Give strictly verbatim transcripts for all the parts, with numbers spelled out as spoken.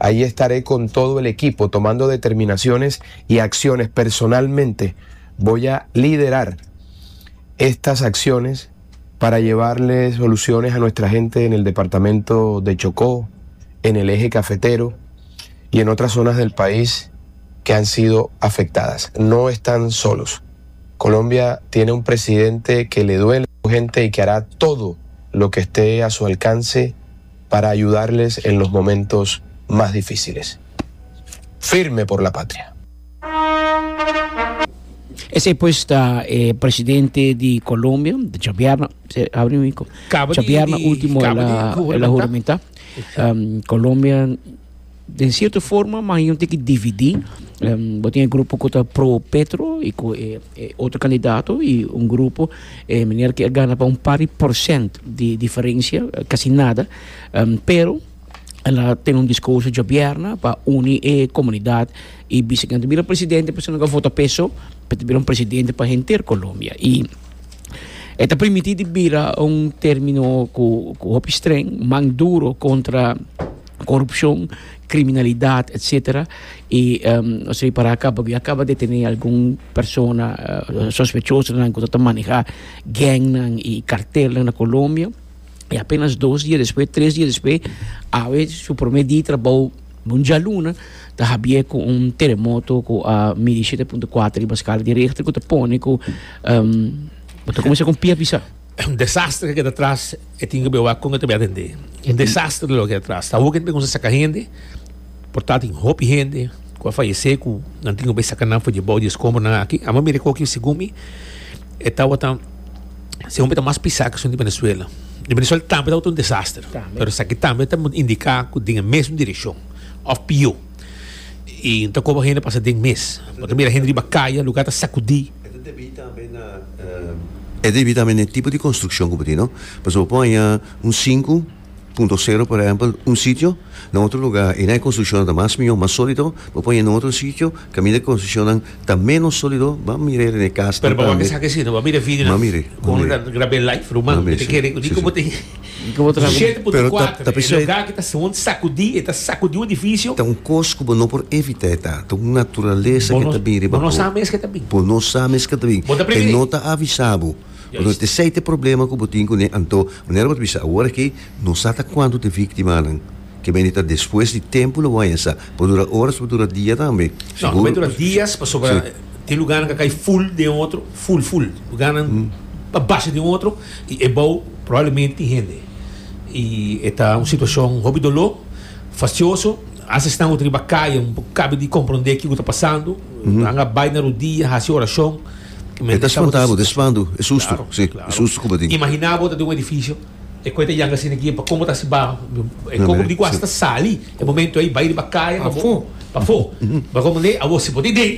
Ahí estaré con todo el equipo tomando determinaciones y acciones. Personalmente voy a liderar estas acciones para llevarle soluciones a nuestra gente en el departamento de Chocó, en el eje cafetero y en otras zonas del país que han sido afectadas. No están solos. Colombia tiene un presidente que le duele a su gente y que hará todo lo que esté a su alcance para ayudarles en los momentos más difíciles. Firme por la patria. Esey pues ta eh, presidente di Colombia, diabierna, diabierna ultimo el a el a huramenta. Um, Colombia, den cierto forma, mas un tiki dividi. Um, bo tin grupo cu ta pro Petro y cu eh, eh, otro candidato y un grupo eh, meneer cu a gana pa un par di porcent di diferencia, casi nada. Um, pero el a tene un discurso diabierna pa uni e comunidad y bisa cu bira presidente persona cu vota p'e so, pa bira un presidente pa henter Colombia. Y e ta permiti di bira un termino cu cu hopi streng, man duro contra corupcion, criminalidad, etcétera. Y um, o para caba, a caba di detene algun persona uh, sospechoso cu ta maneha gang y cartel na Colombia. Y apenas dos dia despues, tres dia despues, awe su prome dia di trabou dialuna, ta habia cu un teremoto cu a midi shete punto kuater riba escala di Richter, cu ta pone cu um, ta cuminsa cu pia pisa. Un desastre cu keda atras y tin cu wak con tambe atende. Un desastre loke keda atras. Ta hopi cu saca hende, por ta tin hopi hende cu a fayece cu nan tin cu saca nan for di bou di escombro aki. Ami a mira cu segun mi e tawata segun mi ta mas pisa cu di Venezuela. Di Venezuela tambe ta un desaster. Pero esaki tambe ta indica cu den e mesun direccion of pio. Y anto con hende pasa den mes. Bo ta mira hende riba caya, luga ta sacudi. E debi tambe na e debi tambe na tipo di construccion cu tin, no? Pasobra bo pone un sinku punto sero, por ehempel, un sitio, na otro luga, y na construccion ta mas miho, mas solido, bo pone na otro sitio, caminda e construccion ta menos solido, ban mira na cas. Pero ban cu si, no, ban mira video. Ban mira. Con graba live, ruman, te kere, di con te shete punto kuater, e luga cu ta sacudi, ta sacudi un edificio. Ta un cos cu no por evita, ta un naturalesa cu ta bin riba. Bo no sa mes cu ta bin. Bo no sa mes cu ta bin. E no ta avisa bo. Anto esey ta e problema cu bo tin cune. Anto manera bo ta bisa awor aki, no sa ta cuanto ta victimanan. Ke mende ta despues di tempo lo bo haña sa. Por dura horas, por dura dia tambe. No, no por dura dias, pasobra tin lugarnan cu a cay full den otro, full, full. Lugarnan a basha den otro y e bou probablemente tin hende. Y e ta un situacion hopi dolor, fastioso. Hasta esnan cu ta riba caya un poco cabe di comprende kico ta pasando. Nan a bay na rudia, haci oracion. E ta spanta bo, ta spanta, e susto, si, e susto ku bo tin. Imagina bo ta den un edifisio, e koe ta yanga asina aki, pa komo ta hasi baho, e komo di ku hasta sali, e momento ei bai riba kaya pa bo, pafó. Pa komo ne, awor si bo tin den,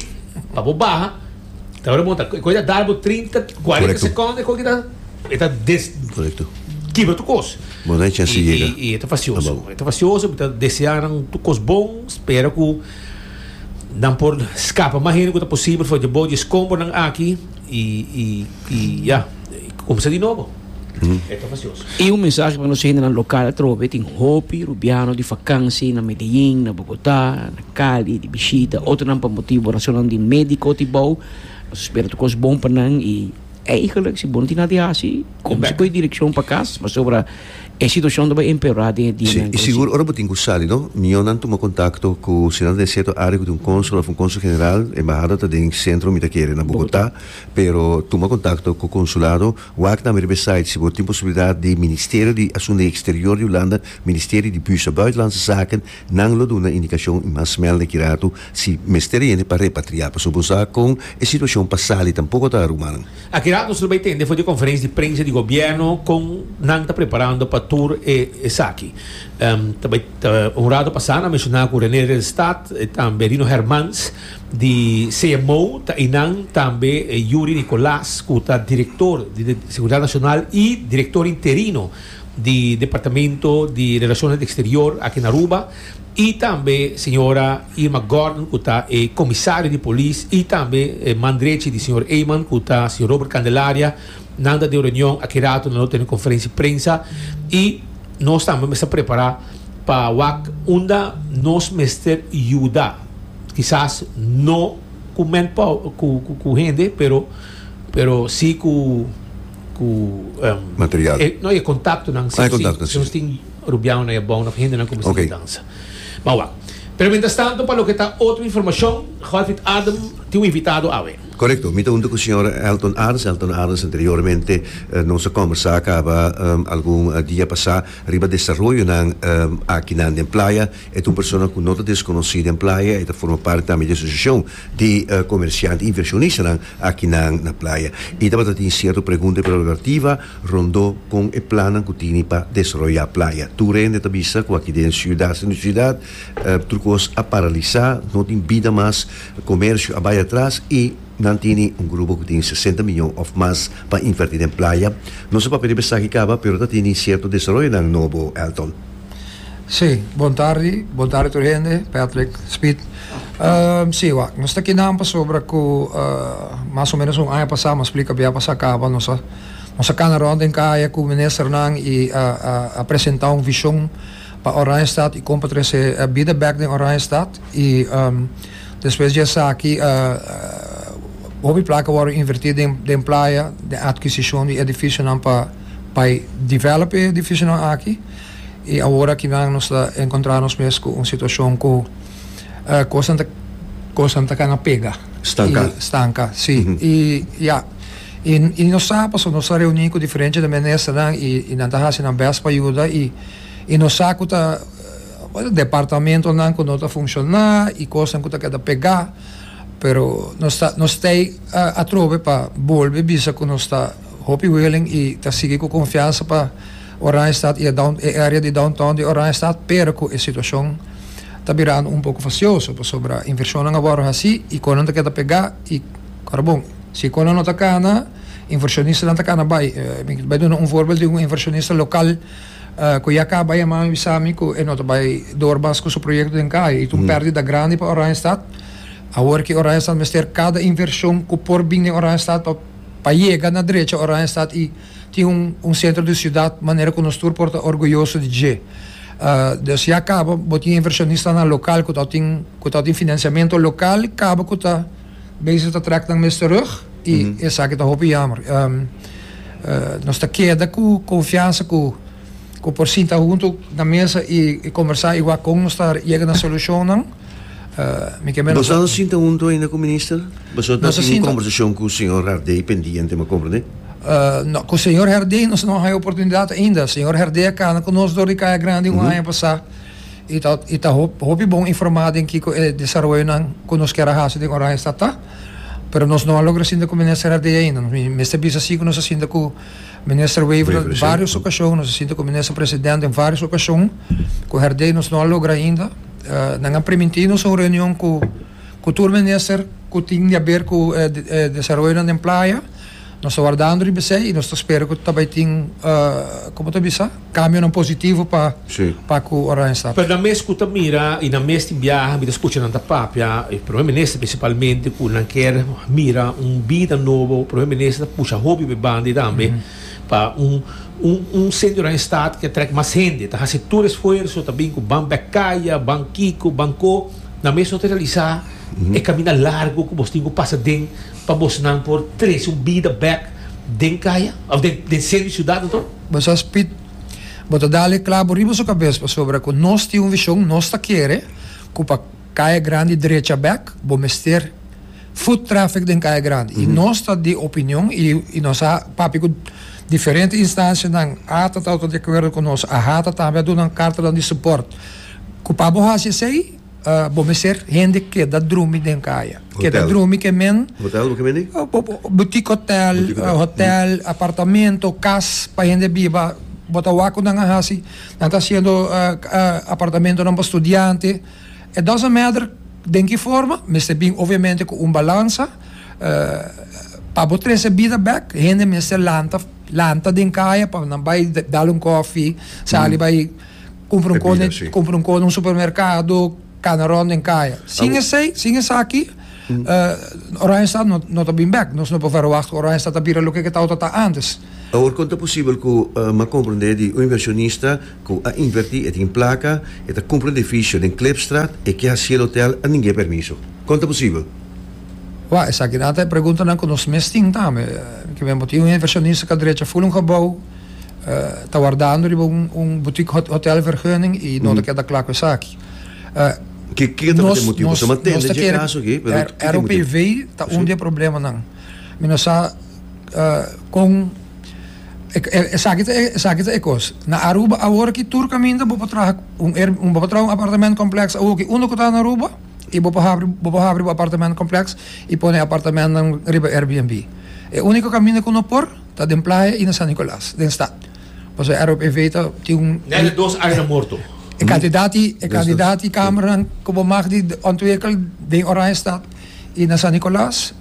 pa bo baha, ta ora bo ta, e koe ta dal bo trinta, kuarenta sekondo, e koe ki ta, e ta des, kibra tur kos. Bo no hay chance di yega. I e ta fastioso, e ta fastioso, mi ta desea nan tur kos bon, spera ku. Nan por scapa mas hende cu ta posibel for di bou di escombonan aki y y y ya, cuminsa di nobo. E ta facioso. Y un mensahe pa nos hendenan local atrobe, tin hopi rubiano di vakansi na Medellin, na Bogota, na Cali, di bishita, otronan pa motibo racionnan di medico ti bou. Nos spera tur cos bon pa nan y eigenlijk si bo no tin nada di haci, cuminsa cu e direccion pa cas, pasobra E situacion ta bay empeora den e dianan Sí, y sigur ora bo tin cu sali, no? Mihor nan tuma contacto cu, si nan ta den cierto area cu tin un consul of un consul general, embahada ta den centro mi ta kere na Bogotá, pero tuma contacto cu consulado, wak tambe riba e site si bo tin posibilidad di Ministerio di Asunto Exterior di Hulanda, Ministerio di Busa Buitenlandse Zaken, nan lo duna indicacion y mas smel den ki rato si mester yende pa repatria, pasobra bo sa con e situacion pa sali tampoco ta rumannan. Aki rato nos lo bay tende for di conferencia di prensa di gobierno con nan ta preparando pa tur e esaki. Ta bay ta un rato pasa nan a menciona cu Rene Ridderstaat e tambe Rino Hermans di C M O ta eynan, tambe Yuri Nicolaas cu ta director di Seguridad Nacional y director interino di Departamento di Relaciones Exterior aki na Aruba y tambe señora Irma Gordon cu ta e comisario di polis y tambe e man drechi di señor Eman cu ta señor Robert Candelaria. Nan ta den reunion aki rato, nan lo tene conferencia di prensa y nos tambe mester prepara Pa wak unda nos mester yuda. Kisas no ku manpower, ku, ku, ku hende, pero pero si ku ku um, material. Eh, no, e kontaktonan. Ah, e kontakto, si. Si. Tin rubiano na bon of hende nan ku Ok. dansa. Maar wak. Pero mientras tanto, pa loke ta otro informashon, Godfried Adam tin un invitado awe. Korekto, mi ta huntu ku señor Elton Arends. Elton Arends anteriormente eh, nos a kombersá kaba um, algun eh, dia pasá riba desaroyonan um, aki na den Playa. E un persona ku no ta deskonosí den Playa i ta forma parti tambe di asosiashon di uh, komersiante invershonista aki na, na Playa. I tabata tin sierto pregunta prerogativa rondó ku e plan ku tin pa desaroyá Playa. Tur hende ta bisa ku aki den siudat, den siudat, uh, tur kos a paralisá, no tin bida mas, komersio a bai atras i nan tin un grupo ku tin sesenta mion òf mas pa invertí den Playa. No sa pa pensá ku kaba, pero tin sierto desaroyo nobo, Elton. Si, bon tardi, bon tardi tur hende, Patrick, Speed. Um, si, wak, nos ta aki nan pasobra ku uh, mas o ménos un aña pasá, m'a splika biaha pasá kaba, nos a nos a kana rònt den kaya ku ministernan i a, a, a presentá un vishon pa Oranjestad i kon pa trese bida bèk den Oranjestad i um, despues di esaki uh, uh, hopi plaka a wòrdu invertí den, den Playa, den atkisishon di edifisionan pa pa develop e edifisionan aki i awor aki nos ta enkontrá nos mes ku un situashon ku uh, kos ta kos ta kana pega. Stanka. I, stanka, si. Mm -hmm. I ja, i, i nos sa, nos a reuní ku diferente ministernan i i nan ta hasi nan best pa yuda i i nos sa ku ta departamentonan ku no ta funshoná i kos ku ta keda pegá, pero nos ta nos ta uh, atrobe pa bolbe bisa ku nos ta hopi willing i ta sigui ku konfiansa pa Oranjestad i e down, e área di downtown di Oranjestad, pero ku e situashon ta birando un poko fastioso pasobra invershonnan awor asina i kos ta keda pegá i awor bon, si kos no ta kana, invershonistanan ta kana bai. eh, bai duna un voorbeeld di un invershonista lokal uh, ku ya kaba a yama mi bisa mi ku e no ta bai door mas ku su proyekto den kaya i un mm. pèrdida grandi pa Oranjestad. Awor ku Oranjestad mester kada invershon ku por bin den Oranjestad pa pa yega na drecha Oranjestad i tin un, un sentro di siudat manera ku nos tur por ta orguyoso di dje. Uh, dus ya kaba, bo tin invershonistanan lokal ku tin ku tin finansiamentu lokal, kaba ku ta bezig ta trek nan mes terug i mm -hmm. esaki ta hopi jammer. Um, uh, nos ta keda ku konfiansa ku ku por sinta huntu na mesa i, i kombersá i kon nos ta yega na solushonnan. Uh, mi ke Bo no a sinta huntu ainda ku minister? Bo Nos tin un kombersashon ku señor Herdé pendiente, mi a komprondé? Uh, no, ku señor Herdé nos no tin oportunidat ainda. Señor Herdé a kana ku nos dor di Kaya Grandi un aña pasá. I ta i ta hopi bon informá den kiko e desaroyonan ku nos ke hasi den Oranjestad ta. Pero nos no a logra sinta ku minister Herdé ainda. Mester bisa si ku nos a sinta ku minister Wever Wever, si. vários okashon, nos a sinta ku minister presidente den vários okashon. Ku Herdé nos no a logra ainda. Uh, nan a primintí nos un reunion ku ku tur minister ku tin di haber ku eh, de, eh, desaroyo den Playa. Nos ta wardando riba esei i nos ta spera ku tambe tin uh, kon ta bisa, kambionan positivo pa Si. pa ku Oranjestad. Pero na mes ku ta mira i na mes tin biaha, mi ta skucha nan ta papia, e promé minister prinsipalmente ku nan ke mira un bida nobo, promé minister pusha hopi be bandi tambe pa un un un sentro den stad ku trek mas hende, ta hasi tur esfuerso tambe ku ban bèk kaya, ban kiko, ban ko, na mes no ta realisá e kaminda largu ku bo tin ku pasa den pa bo nan por trese un bida bèk den kaya, òf den den sentro di siudat, anto? Bo sa, Speed, bo ta dal e klabo riba su kabes pasobra ku nos tin un vishon, nos ta kere ku pa Kaya Grandi drecha bèk, bo mester foot traffic den Kaya Grandi. Mm -hmm. I nos ta di opinion i, i nos a papia ku diferente instansianan ATA ta di akuerdo ku nos, AHATA tambe a duna un karta di support. Ku pa bo hasi esei, uh, bo mester hende keda drumi den kaya. Keda Hotel. drumi ke men Hotel, loke mende? Uh, bo- bo- boutique hotel, Boutique hotel. uh, hotel, apartamento, kas pa hende biba, bo ta wak nan a hasi, nan ta hasiendo uh, uh, apartamentonan pa studiante. It doesn't matter den ki forma, mester bin obviamente ku un balansa, uh, pa bo trese bida bèk, hende mester lanta, lanta den kaya pa nan bai dal un kòfi, sali bai kumpra un Bebida, kone, si. kumpra un kos na un supermerkado, kana rònt den kaya. Sin esei, sin esaki, uh, Oranjestad no, no ta bin bèk. Nos no por verwacht Oranjestad ta bira loke ku tabata antes. Awor, kon ta posibel ku uh, m'a komprondé di un invershonista ku a invertí e tin plaka, e ta kumpra un edifisio den Klipstraat i ke hasi hotel a ningun permiso? Kon ta posibel? Wa, esaki ta e preguntanan ku nos mes tin tambe. Ku mi tin un invershonista ku a drecha full un gebouw, uh, ta wardando riba un, un boutique hotelvergunning i no ta keda kla ku esaki. Uh, Ki ki ta e motibu? Nos nos ta kaso aki, pero R O P V ta un di e problemanan. Mi no sa uh, kon esaki esaki ta e kos. Na Aruba awor ku tur kaminda bo por traha un un bo por traha un appartementcomplex awor ku uno ku ta na Aruba i bo por habri bo por habri un appartementcomplex i pone apartamento riba Airbnb. E úniko kaminda ku no por ta den Playa i na San Nicolas, den stad. Pasobra R O P V ta tin un Net dos aña morto. E kantidat e kantidat di kamer ku bo mag di ontwikkel den Oranjestad i na San Nicolas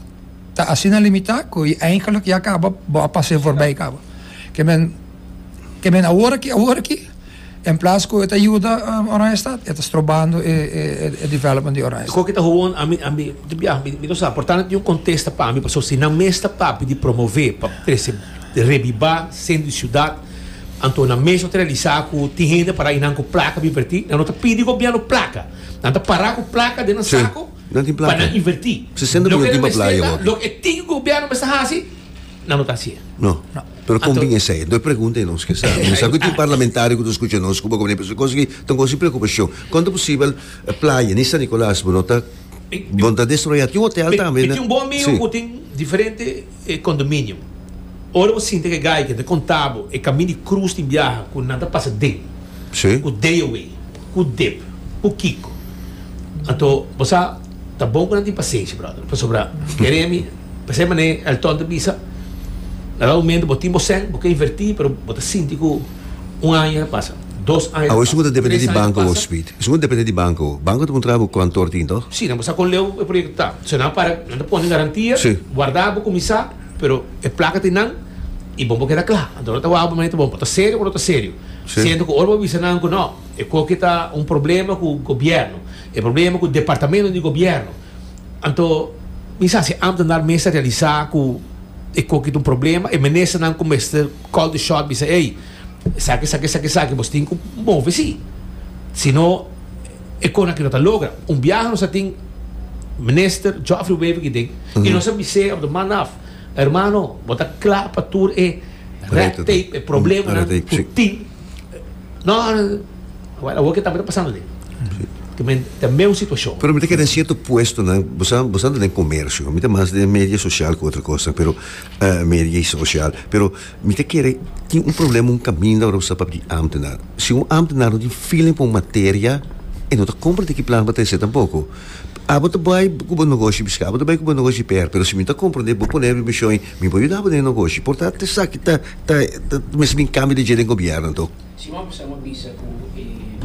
ta asina limitá ku eigenlijk ya kaba bo a pasa voorbij kaba. Ke men ke men awor aki awor aki in plaats ku e yuda um, Oranjestad, e ta strobando e, e, e development di Oranjestad. Ko kita gewoon ami ami di mi mi no sa, portanto un kontesta pa mi, paso si nan mes ta papia di promové pa trese rebibá sentro di siudat, anto nan mes ta realisá ku tin hende para einan ku plaka pa invertí, nan no ta pidi gobièrnu plaka, nan ta para ku plaka den sako Nan tin plaka. pa nan invertí. sesenta milyon tin pa Playa, hoor. Loke tin gobièrnu mes hasi, nan no ta hasi. No. Pero kon bin esei? Dos pregunta nos ke sa. Mi sa ku tin parlamentario ku ta skucha nos, ku komo kos ku tin kos preokupashon. Kon ta posibel Playa, ni San Nicolas, bo no ta bo no ta destruí. Tin hotel tambe. Mi tin un bon amigu ku tin diferente eh, condominio. Ora bo sinta ku e guy ku ta konta bo e kaminda di krus tin biaha ku nan ta pasa den. Si. Ku D O W, ku D I P, ku Kiko. Anto, bo ta bon ku nan tin pasenshi, brother. Pasobra, kere mi, pensei mané el tonto bisa, na un momento bo tin bo sèn, bo ke invertí, pero bo ta sinti ku un aña pasa, dos aña Ah, pasa, esei ta dependé tres di aña banko, pasa. Speed. Esei ta dependé di banko. Banko ta puntra kuantu tin, toch? Si, no, kon leu e proyekto ta. Se nan para, nan pone garantia, Si. warda bo kuminsá, pero e plaka tin nan i bon bo keda kla. Anto ta wou momento bon, ta serio òf no ta serio. Si. Siendo ku ora bo bisa nan ku no, e koki ta un problema ku gobièrnu, e problema ku departamento di gobièrnu. Anto, mi sa si ambtenaar mes a realisá ku e koki ta un problema, e minister nan kuminsá call the shot, bisa, "Hey, sabe, sabe, sabe, sabe, bo tin ku move si." Sino e kos ku no ta logra. Un biaha nos tin minister Geoffrey Wever ku tin i nos a bis'é op de man af, hermano, bo ta kla pa tur e red tape, e problema Red tape, si. tin. No, well, awor ku tambe ta pasando ei. Ku men tambe un situashon. Pero mi ta kere sierto puesto, no? Bo bo ta den komersio, mi ta mas den media sosial ku otro kos, pero uh, media sosial, pero mi ta kere tin un problema, un kaminda ora pa di ambtenaar. Si un ambtenaar no tin feeling pa un materia, e no ta komprondé ki plan pa trese tampoko. Ah, bo ta bai ku bo negoshi piska, bo ta bai ku bo negoshi per, pero si mi ta komprondé, bo pone mi mishon, mi por yuda den negoshi. Por tanto, esaki ta ta ta mes bin kambio di den gobièrnu, anto. Siman pasá m'a bisa ku eh,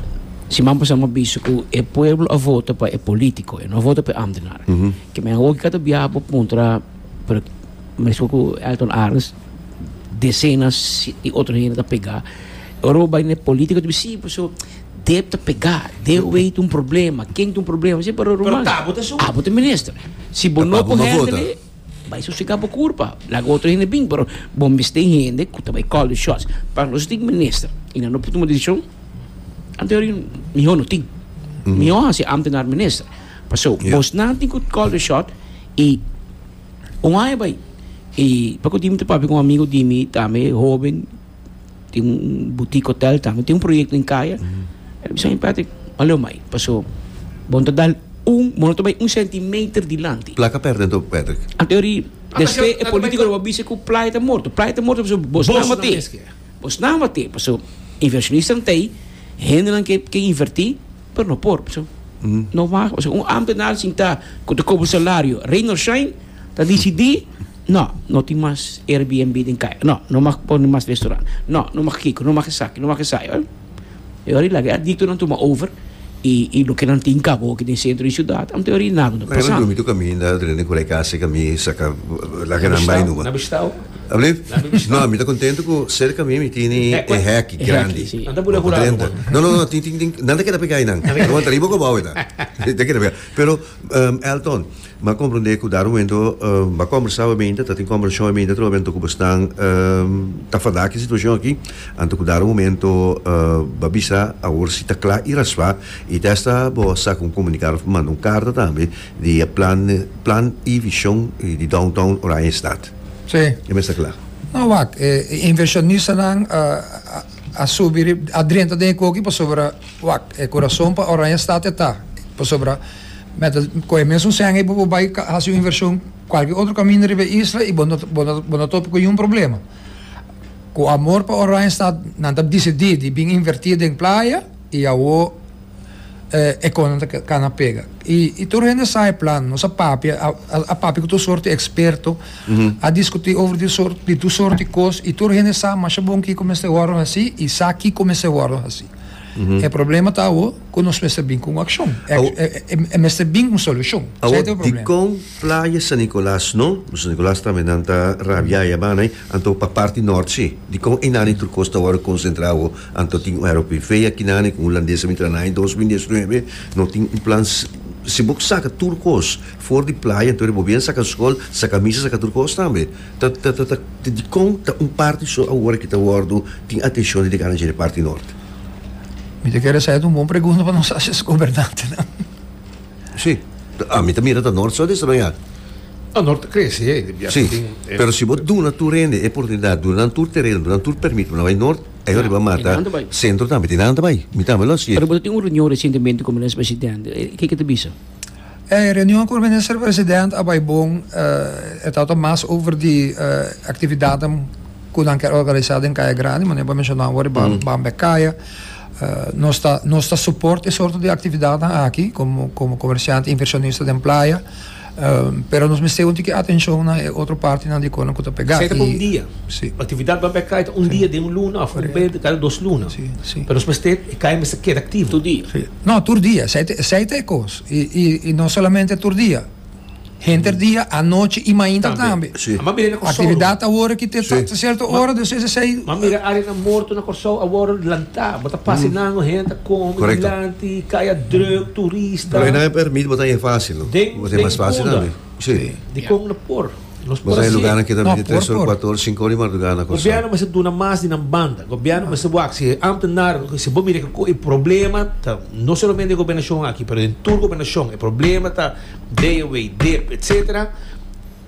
siman pasá m'a bisa ku e pueblo a vota pa e polítiko, e no a vota pa ambtenaar. Ke men ook kada biaha bo puntra, pero mes ku Elton Arens, desenas di otro hende ta pega. Ora bai ne polítiko, di si, so D I P ta pega, D O W tin un problema, ken tin un problema, si, pero Pero ruman. ta, bo ta su. Ah, bo ta minister. Si bo Ta no pa bo por no vota. handle, bai sosegá bo kurpa. Laga otro hende bin, pero bo mester hende ku ta bai call the shots. Pa nos tin minister i nan no por tuma desishon, anto mihó no tin. Mihó hasi ambtenaar minister. Paso, Yeah. bos nan tin ku call the shot i un aña bai. I pa ku di mi papia ku un amigu di mi tambe hóben, tin un boutique hotel tambe, tin un proyekto den Kaya. El a bisa, "Patrick, alo mai, paso, bon ta dal un, bon ta bai un centimeter dilanti." Plaka pèrdè anto, Patrick. En teoria, Ah, despues pero e polítiko lo bisa ku Playa ta morto. Playa ta morto, paso bos Bos nan nan mate. mes ke. Bos nan mate, paso invershonista tei, hende nan ke ke invertí, pero no por, paso no mag, paso un ambtenaar sinta ku ta kobra salario, rain or shine, ta disidí, no, no tin mas Airbnb den Kaya. No, no mag pone mas restaurant. No, no mag kiko, no mag esaki, no mag esaki. E ora laga adikto nan tuma over i i loke nan tin kaba aki den sentro di siudat, en teoria nada no Mas pasando. drumi tu kaminda, drenta ku kas, kami saka laga nan bai numa. Na Bistau. Alsjeblieft. No, mi ta contento cu cerca mi mi tin e hek grandi. No, no, no, tin tin tin, nan ta keda pega einan. No ta riba gebouw eta. Ta keda pega. Pero um, Elton, m'a comprende cu dado momento um, m'a conversa obviamente, ta tin conversacion obviamente trobe cu bestaan um, ta fada ki situacion aki, anto cu dado momento uh, b'a bisa awor si ta cla y raspa y testa bo saca un comunicado of manda un carta tambe di plan plan y vision di downtown Oranjestad. Si. E mester cla. No, wak, eh, inversionistanan uh, a, a subi a drenta den koki pasobra wak, e curason pa Oranjestad ta pasobra met cu e mesun seng bo por bay haci un inversion cualkier otro caminda riba isla y bo no bo no bo no topa cu un problema. Cu amor pa Oranjestad nan ta dicidi di bin inverti den Playa y awo eh, e cos ta cana pega. Y, y tur hende sa e plan, nos a papia, a, a, a papia cu tur sorto experto, a discuti over di sorto, di tur sorto cos, y tur hende sa, mas bon kico mester wordo haci, y sa kico mester wordo haci. E problema ta awo, cu nos mester bin cu accion. E, e, e, e mester bin cu solucion. Awo, Esey ta e di problema. con Playa San Nicolas no, San Nicolas tambe nan ta rabia ya bana, anto pa parti nort si. Di con einan tur cos ta wordo concentra anto tin un R O P V aki nan cu holandese mitra na in dos mil diesnuebe, no tin un plan si bo saca tur cos for di Playa, anto bo bien saca scol, saca misa, saca tur cos tambe. Ta ta ta ta di con ta un parti so awor cu ta wordo tin atencion di gana di parti nort. Mi ta kere esey un bon pregunta pa nos haci gobernante, no? Si. Ami tambe ta nort so desaroya. No, nort a crece, eh. Si, Tin, eh, pero si bo duna tur hende e oportunidad, duna tur tereno, duna tur permit, no bay nort, ey riba mata. Tin bai. Centro tambe, tin nada bay. Mi tambe lo si. Pero bo tin un reunion recientemente cu minister presidente. Kico kico ta bisa? E reunion cu minister presidente a bay bon, uh, e ta mas over di uh, actividad cu nan kier organisa den Caya Grandi, mas bo a menciona awor mm. Bambe Caya. Uh, nos ta nos ta support e sorto di actividad aki como como comerciante inversionista den Playa. Um, pero nos mester un tiki atencion na otro parti na di con cu ta pega. Esey ta un dia. Si. Actividad bay cay un dia di un luna, of un bes cada dos luna. Si, si. Pero mester cay mester keda activo. Tur dia. Si. No, tur dia, esey esey ta cos. Y, y, y no solamente tur dia. Henter dia, anochi y mainta tambe. Si. Ma mira na Corsou. Actividad awor cu tin Si. cierto ora, dus esey Ma mira area na morto na Corsou, awor lanta, bo ta pasa mm. hende come, Correcto. dilanti, caya druk, turista. Pero no permit, bo ta facil, no? Den- Bo ta mas den facil Punda. tambe. Si. Di con no por. Nos Bo ta por lugar cu No, tambe por, tres or, por. cuater or, cinco or di madruga na Corsou. Gobierno mester duna mas di nan banda. Gobierno mester wak si ambtenaar, si bo mira cu e problema ta no solamente e gobernacion aki, pero den tur gobernacion, e problema ta D O W, D I P, et cetera.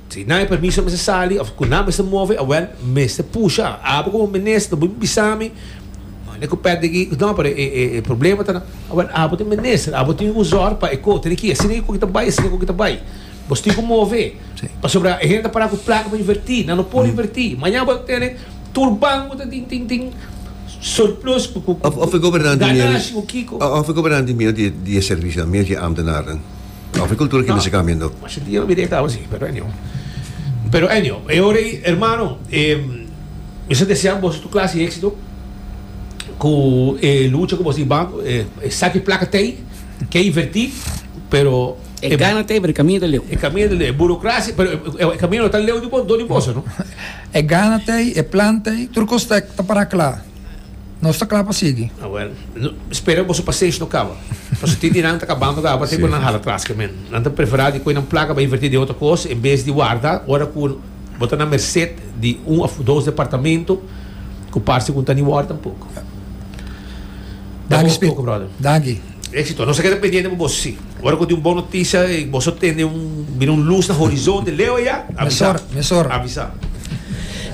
Si no hay permiso mester sali, of cu nan mester move, awel mester pusha. Abo como minister, bo bisa mi, ne ko perde ki, no, pero e, e, e problema ta, awel abo tin minister, abo tin usar pa eko, tin ki, asina cu ta bay, asina cu ta bay. Bo tin cu move. Si. Pasobra e hende para cu placa pa inverti, nan no por inverti. Mañan bo tin tur banco ta tin tin tin surplus ku ku Of of e gobernante ganashi cu kico. Of e gobernante miedo di di servicio, miedo di ambtenaren. Of e cultura cu No. mester cambiando. Mas dia mi directa asina, pero anyhow. Pero anyhow, e ora, hermano, eh, mi ta desea bo tur clase di exito cu eh, lucha cu bo banco, eh, saca placa tin, kier inverti, pero E gana tin, pero caminda leu. E caminda di burocracia, pero e caminda ta leu di bo, di bo, no? E gana tin, e plan tin, tur cos ta ta para cla. Nos ta cla pa sigui. Ah, well, no, spera bo pasenshi no caba. Mas tin di nan ta cabando caba, tin cu nan hala atras cu men. Nan ta prefera di coy nan placa pa inverti den otro cos en bes di warda, ora cu bo ta na merced di un of dos departamento, cu parce cu ta ni warda tampoco. Danki, Poco, brother. Danki. Exito. Nos ta keda pendiente pa bo. Ora cu tin un bon noticia, y bo tin un, mira un luz na horizonte, leu ya, avisa. Mesora, mesora. Avisa.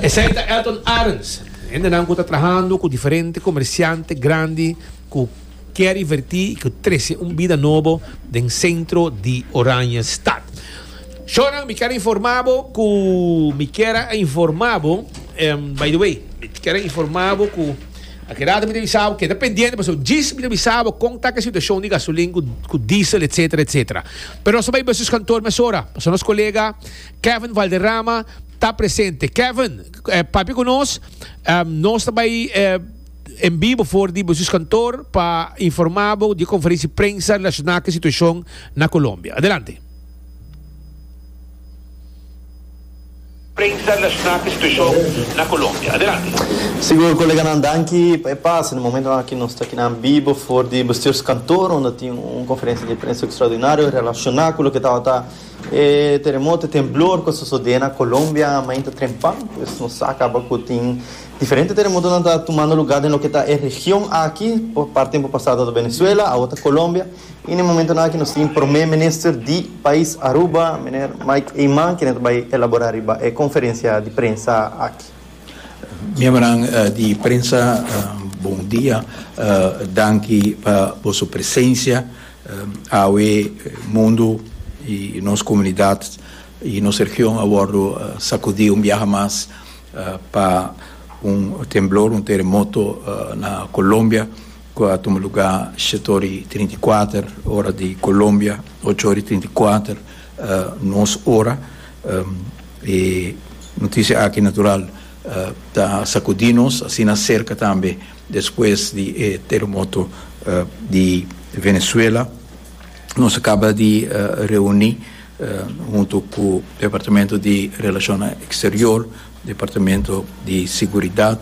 Esey ta Elton Arends. Hende nan ta trahando cu diferente comerciante grandi cu kier inverti y cu trece un bida nobo den centro di Oranjestad. Shonan, mi kier informa cu mi kier informa, um, by the way, mi kier informa cu aki rato mi ta avisa, keda pendiente, mas djis mi ta avisa con ta e situacion di gasolin, cu, cu diesel, et cetera, et cetera. Pero nos ta bay kantoor mesora. Nos colega Kevin Valderrama ta presente. Kevin, eh, papia cu nos, um, nos ta bay eh, en bibo for di kantoor pa informa di conferencia di prensa relaciona cu e situacion na Colombia. Adelante. Prensa relashoná ku e situashon na Colombia. Adelante. Sigur, colega, danki pa pasa. Na momento aki nos ta aki na bibo for di bestuurskantoor, unda tin un conferencia di prensa extraordinario relaciona cu loke tabata eh, terremoto, temblor cu a sucede na Colombia mainta trempan. Pues nos a caba cu tin diferente terremoto cu ta tumando luga den loke ta e region aki, pa parti tempo pasa di Venezuela, awor Colombia. Y na e momento aki nos tin prome minister di pais Aruba, meneer Mike Eman, cu ta bay elabora e conferencia di prensa aki. Miembro uh, di prensa, uh, bon dia. Uh, danki pa boso presencia. Uh, awe mundo y nos comunidad y nos region a wordo uh, sacudi un biaha mas uh, pa un temblor, un terremoto uh, na Colombia, cu a tuma luga shete trinta i kuater ora di Colombia, ocho or trinta i kuater uh, nos ora. Um, e noticia aki natural uh, ta sacudi nos, asina cerca tambe despues di eh, terremoto uh, di Venezuela. Nos a caba di uh, reuni uh, hunto cu Departamento di Relacion Exterior, Departamento di Seguridad,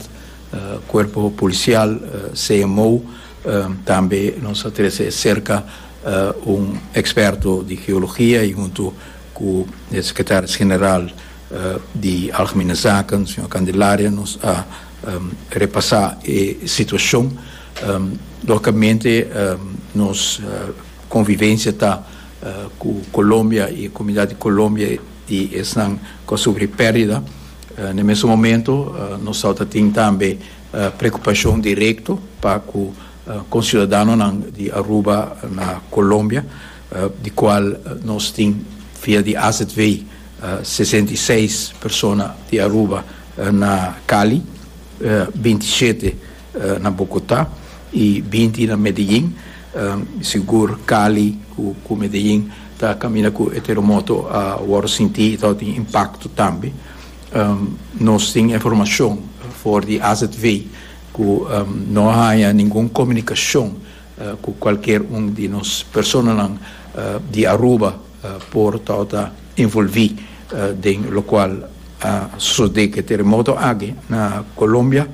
uh, Cuerpo Policial, uh, C M O, uh, tambe nos a trece cerca uh, un experto di geologia y hunto cu e secretario general uh, di Algemene Zaken, señor Candelaria, nos a um, repasa e situacion. Um, logicamente, um, nos uh, convivencia ta uh, cu Colombia y e comunidad di Colombia y esnan cu a sufri perdida. Uh, na mesun momento, uh, nos tin tambe uh, preocupacion directo pa cu uh, conciudadanonan di Aruba na Colombia, uh, di cual nos tin via di A Z V uh, sesenta i seis persona di Aruba uh, na Cali, uh, binti i shete uh, na Bogotá y binti na Medellín. Um, sigur Cali cu, cu Medellín ta caminda cu e terremoto a uh, sinti y tin impacto tambe. Um, nos tin informacion for di A Z V cu um, no tin ningun comunicacion uh, cu cualkier un di nos personanan uh, di Aruba uh, por ta envolvi uh, den locual a uh, sucede cu e terremoto aki na Colombia.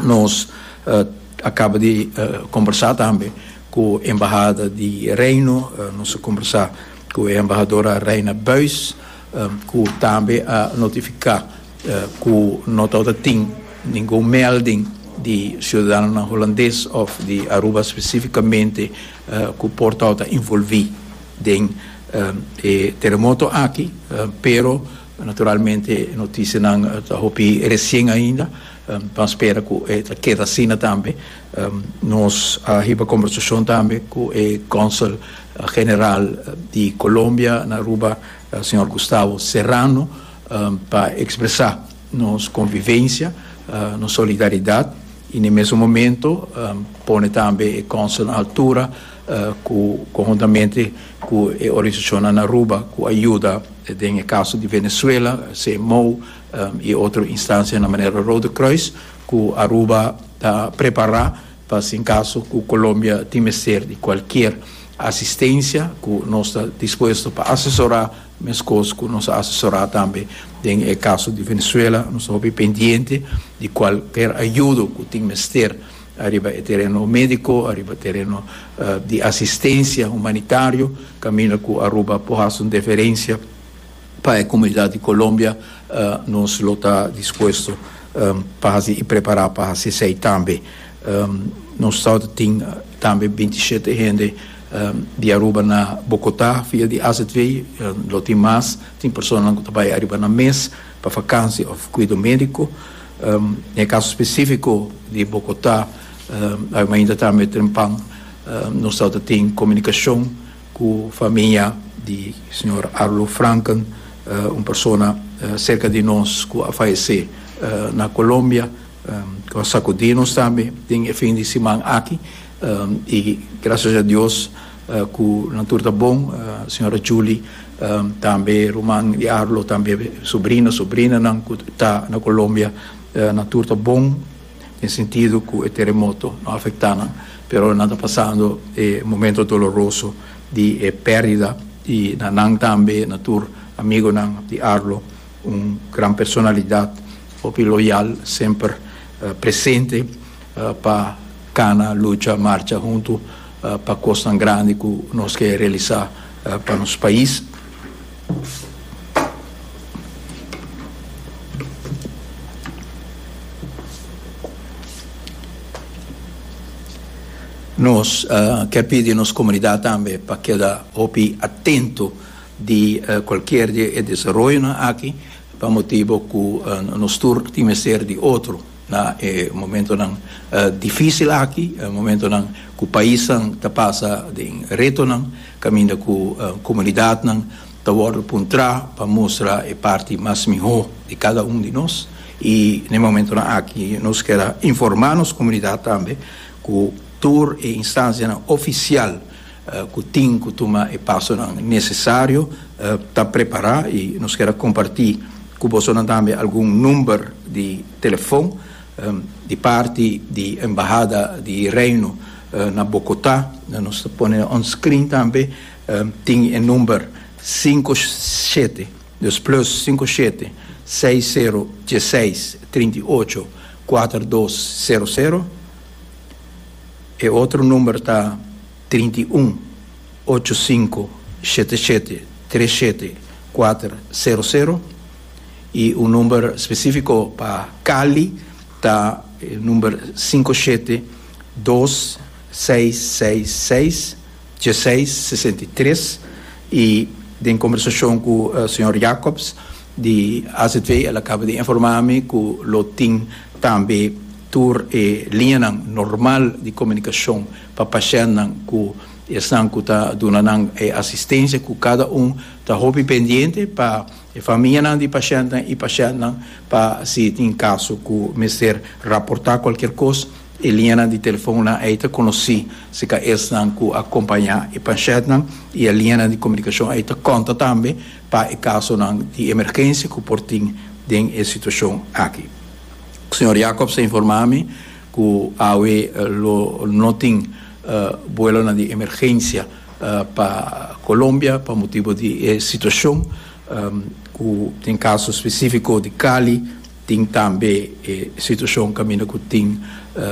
Nos uh, a caba di uh, combersa tambe cu e embahada di Reino, uh, nos a combersa cu e embahadora Reina Buis, um, cu tambe a notifica uh, cu no tin ningun melding di ciudadano hulandes of di Aruba specificamente uh, cu por ta envolvi den um, e terremoto aki, uh, pero naturalmente noticianan ta hopi recien ainda, um, pa spera cu e keda asina tambe. Um, nos a hiba combersacion tambe cu e consul general di Colombia na Aruba, uh, señor Gustavo Serrano, um, pa expresa nos convivencia, uh, nos solidaridad y na mesun momento um, pone tambe e consul na altura uh, cu, conhuntamente cu e organisacion na Aruba, cu a yuda den caso di Venezuela, C M O um, y otro instancia na manera Rode Kruis, cu Aruba ta prepara pa en caso cu Colombia tin mester di cualkier asistencia, cu nos ta dispuesto pa asesora, mescos cu nos a asesora tambe den caso di Venezuela. Nos ta pendiente di cualkier ayudo cu tin mester ariba tereno medico, ariba tereno uh, di asistencia humanitario, caminda cu Aruba por haci un diferencia pa e comunidad di Colombia, uh, nos ta dispuesto um, pa y prepara pa haci tambe. Um, nos tin tambe binti i shete hende um, di Aruba na Bogotá via di A Z V, um, lo tin mas, tin persona cu ta bay ariba na mes pa vakantie of cuido medico. Um, den caso specifico di Bogotá, um, ainda tambe trempan, um, nos tin comunicacion cu famia di señor Arlo Franken, uh, un persona uh, cerca di nos cu a fayece uh, na Colombia, um, cu a sacudi nos tambe den fin di siman aki, um, y gracias na Dios uh, cu nan tur ta bon, uh, señora Julie, um, tambe ruman di Arlo, tambe sobrino, sobrinanan ta na Colombia, uh, nan tur ta bon, den sentido cu e terremoto no a afecta nan, pero nan ta pasando eh, momento doloroso di eh, perdida y na nan tambe, na tur amigonan di Arlo. Un gran personalidad, hopi loyal, semper uh, presente uh, pa cana, lucha, marcha hunto uh, pa cosnan grandi cu nos kier realisa uh, pa nos pais. Nos uh, kier pidi nos comunidad tambe pa keda hopi atento di uh, cualkier di e desaroyo aki, pa motibo cu uh, nos tur tin mester di otro na eh, momentonan uh, dificil aki, eh, momentonan cu paisnan ta pasa den retonan, caminda cu uh, comunidadnan ta wordo puntra pa mustra e parti mas miho di cada un di nos. Y na e momentonan aki nos kier informa nos comunidad tambe cu tur e instancianan oficial uh, cu tin cu tuma e pasonan necesario uh, ta prepara, y nos kier comparti cu boso tambe algun number di telefon um, di parti di Embahada di Reino uh, na Bogotá. Nos ta pone on screen tambe, um, tin e number cinco siete, dus plus cinco siete, seis cero, diesseis, trinta y ocho, cuatro dos cero cero. E otro number ta trinta y un, ocho cinco, siete siete, tres siete, cuatro cero cero. Y un number specifico pa Cali ta e number cinco siete, dos seis seis seis, diesseis, sesenta y tres. Y den conversacion cu, uh, señor Jacobs di A Z V, el a caba di informa mi cu lo tin tambe tur e liñanan normal di comunicacion pa pashentnan cu esnan cu ta duna nan e asistencia, cu cada un ta hopi pendiente pa e famianan di pashentnan y pashentnan, pa si tin caso cu mester raporta cualkier cos, e liñanan di telefon nan ey ta conoci, si ca esnan cu acompaña e pashentnan, y e liñanan di comunicacion ey ta conta tambe pa e casonan di emergencia cu por tin den e situacion aki. Señor Jacobs a informa mi cu awe lo no tin, uh, vuelonan di emergencia, uh, pa Colombia pa motibo di, eh, situacion, um, cu den caso specifico di Cali tin tambe, eh, situacion caminda cu tin, uh,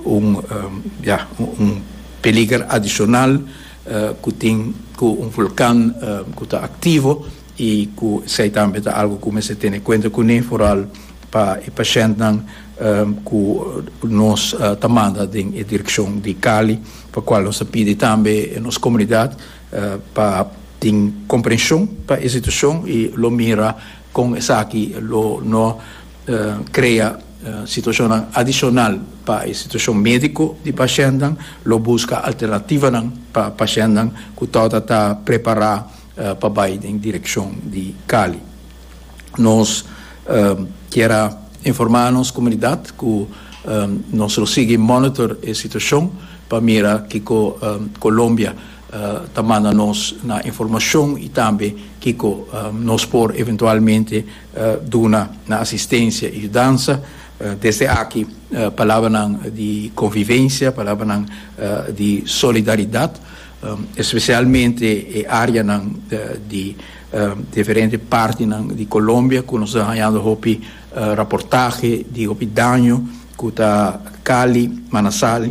un, um, ja, un, un peliger adicional, uh, cu tin cu un volcan, uh, cu ta activo y cu esey tambe ta algo cu mester tene cuenta cu ne, vooral pa e pashentnan, um, cu nos, uh, ta manda den e direccion di Cali, pa cual nos ta pidi tambe nos comunidad, uh, pa tin comprension pa e situacion y lo mira con esaki lo no, uh, crea, uh, situacion adicional pa e situacion medico di pashentnan, lo busca alternativanan pa pashentnan cu ta ta prepara, uh, pa bay den direccion di Cali. Nos, uh, kier informa nos comunidad cu, um, nos lo sigui monitor e situacion pa mira kico, um, Colombia, uh, ta manda nos na informacion y tambe kico, um, nos por eventualmente, uh, duna na asistencia y yudansa. Uh, desde aki, uh, palabranan di convivencia, palabranan, uh, di solidaridad, um, especialmente e areanan, uh, di, um, diferente partinan di Colombia, cu nos ta hayando hopi, uh, reportahe di hopi daño, cu ta Cali, Manizales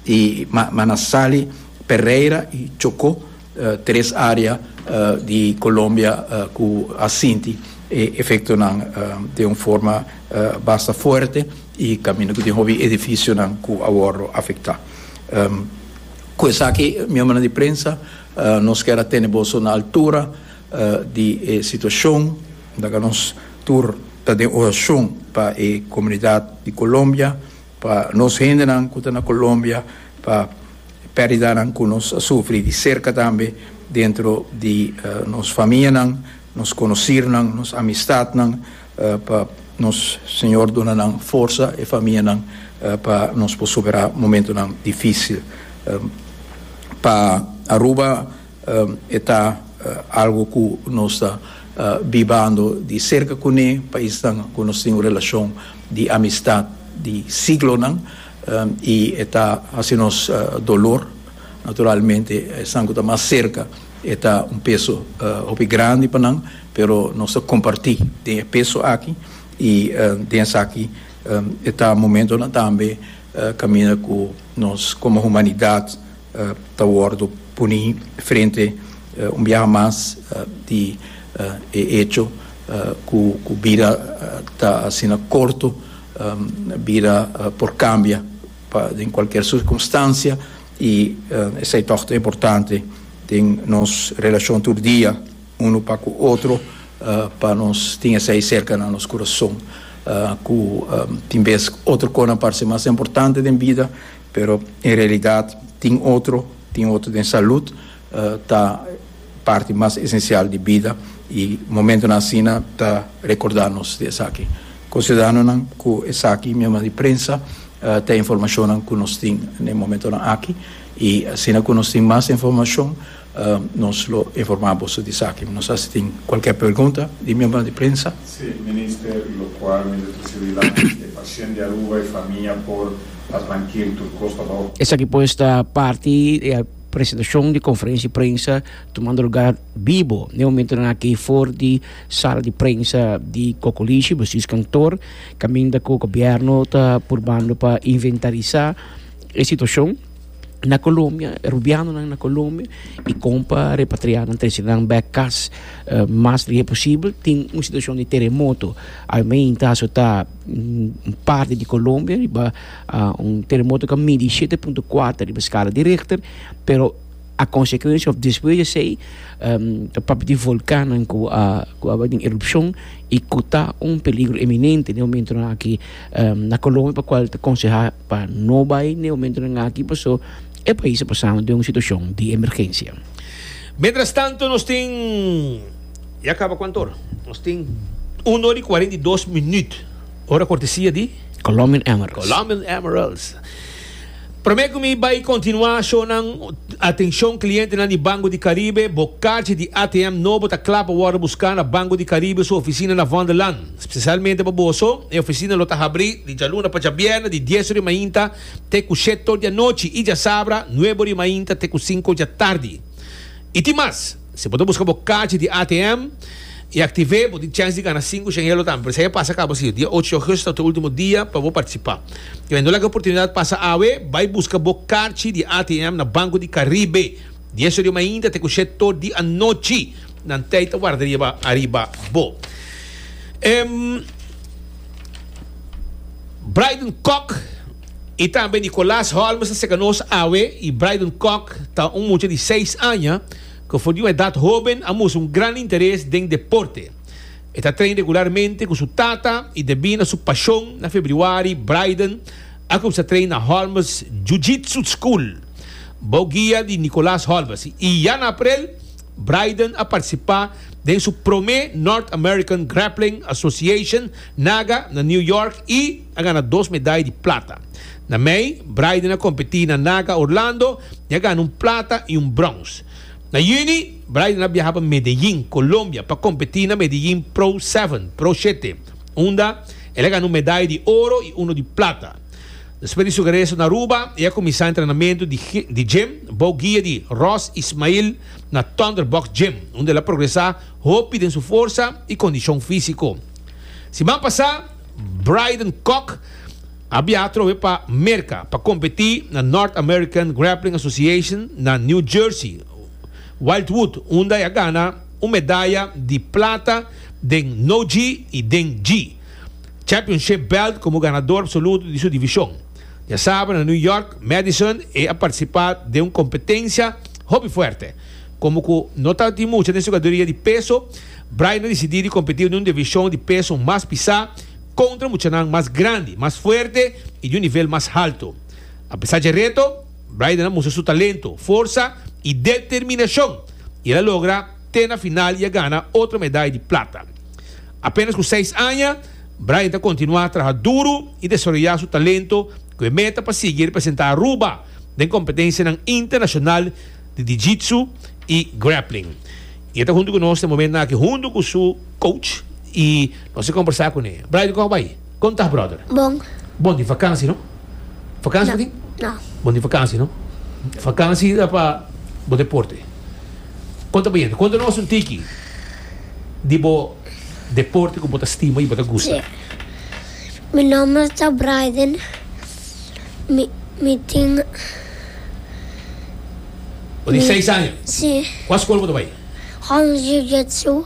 y Ma-, Manizales, Pereira y Chocó, uh, tres area, uh, di Colombia, uh, cu a sinti e efectonan, uh, di un forma, uh, basta fuerte y caminda cu tin hopi edificionan cu a wordo afecta. Um, cu esaki, miembronan di prensa, uh, nos kier tene boso na altura, uh, di, eh, situacion, da nos tur ta den oracion pa e comunidad di Colombia, pa nos hendenan cu ta na Colombia, pa perdidanan cu nos a sufri di cerca tambe dentro di, uh, nos famianan, nos conocirnan, nos amistadnan, uh, pa nos Señor duna nan forsa e famianan, uh, pa nos por supera momentonan dificil. Um, pa Aruba, um, ta, uh, algo cu nos ta, uh, bibando di cerca cu ne, paisnan cu nos tin un relacion di amistad di siglonan, um, y ta haci nos, uh, dolor, naturalmente, esnan cu ta mas cerca E ta un peso uh, hopi grandi pa nan, pero nos ta comparti e peso aki y uh, den esaki um, ta momento tambe uh, caminda cu nos como humanidad uh, ta wordo poni frente uh, un biaha mas uh, di uh, hecho uh, cu cu bida uh, ta asina corto, um, bida uh, por cambia pa, den cualkier circunstancia y uh, esey ta importante den nos relacion tur dia un pa cu otro, uh, pa nos tin esey cerca na nos curason, uh, cu um, tin bes otro cos parece mas importante den bida, pero en realidad tin otro tin otro den salud, uh, ta parti mas esencial di bida y momento asina ta recorda nos di esaki. Considerando cu esaki, miembro di prensa, uh, tin informacion cu nos tin na e momento aki y asina cu nos tin mas informacion, uh, nos lo informa di esaki. No sa si tin cualkier pregunta di miembro di prensa. Si, minister, locual minister paciente di Aruba y famia por trankil tur cos ta Esaki pues ta parti di e presentacion di conferencia di prensa tumando luga bibo na e momento aki for di sala di prensa di Cocolishi, bestuurskantoor, caminda cu gobierno ta purbando pa inventarisa e situacion na Colombia, Rubiano na Colombia y con pa repatria nan, trece nan back cas uh, mas lihe posibel. Tin un situacion di teremoto aumenta ta un parti di Colombia riba uh, un teremoto cu a midi shete punto cuater riba escala di Richter, pero a consecuencia of despues di esey um, e papia di volcan cu a cu a erupcion y cu ta un peligro eminente na e momento aki um, na Colombia, pa cual ta conseha pa no bay na e momento aki, paso e pais ta pasando den un situacion di emergencia. Mientras tanto, nos tin. Ya caba cuanto ora? Nos tin un ora y cuarenta y dos minuut. Ora cortesia di Colombian Emeralds. Colombian Emeralds. Prome cu mi bay continua, nan, atencion cliente di Banco di Caribe, bo kaarchi di A T M nobo ta cla pa wordo busca na Banco di Caribe su oficina na Vondellaan. Especialmente pa boso, e oficina lo ta habri di dialuna pa diabierna di dies or di mainta te cu shete or di anochi y diasabra nuebe or di mainta te cu cinco di atardi. Y tin mas, si bo busca bo kaarchi di A T M y activa, bo tin chance di gana cinco shen euro tambe. Esey pasa caba asina, dia ocho di augustus ta e ultimo dia pa bo participa. Y no laga e oportunidad pasa awe, bay busca bo kaarchi di A T M na Banco di Caribe. dies or di mainta te cu shete or di anochi. Nan t'ey ta warda riba ariba bo. Um, Bryden Kock y tambe Nicolas Holmes ta cerca nos awe y Bryden Kock ta un mucha di seis aña cu for di un edad hoben a mustra un gran interes den deporte. E ta train regularmente cu su tata y debi na su pasion, na februari Bryden a cuminsa train na Holmes Jiu-Jitsu School, bou guia di Nicolas Holmes. Y ya na april, Bryden a participa den su prome North American Grappling Association NAGA na New York y a gana dos medaya di plata. Na mei, Bryden a competi na NAGA Orlando y a gana un plata y un brons. Na juni, Bryden a biaha pa Medellín, Colombia, pa competi na Medellín Pro siete, Pro siete, unda el a gana un medaya di oro y uno di plata. Despues di su regreso na Aruba, el a cuminsa entrenamento di, di gym, bou guia di Ross Ismail na Thunderbox Gym, unda el a progresa hopi den su forsa y condicion fisico. Siman pasa, Bryden Kock a biaha pa Merca pa competi na North American Grappling Association na New Jersey, Wildwood, unda el a gana un medaya di plata den No-Gi y den Gi Championship Belt como ganador absoluto di su division. Diasabra, na New York, Madison, el a participa den un competencia hopi fuerte. Como cu no tabatin mucha den categoria di peso, Bryden a dicidi di competi den un division di peso mas pisa contra mucha mas grandi, mas fuerte y di un nivel mas halto. Apesar di e reto, Bryden a mustra su talento, forsa y determinacion y el a logra te na final y a gana otro medaya di plata. Apenas cu seis aña, Bryden ta continua traha duro y desaroya su talento cu e meta pa sigui representa Aruba den competencia internacional di Jiu-Jitsu y grappling. Y e ta hunto cu nos na e momento aki, hunto cu su coach, y nos ta combersa cu ne. Bryden, con ta bay? Con ta, brother? Bon. Bon di vakantie, no? Vakantie, No. No. Bon di vakantie, no? Vakantie ta pa bo deporte. Kon ta bayendo? Konta nos un tiki di bo deporte ku bo ta stima i bo ta gusta. Si. Mi nòmber ta Brayden. Mi mi tin. Bo tin seis aña? Si. Kua skol bo ta bai? Home Jiu Jitsu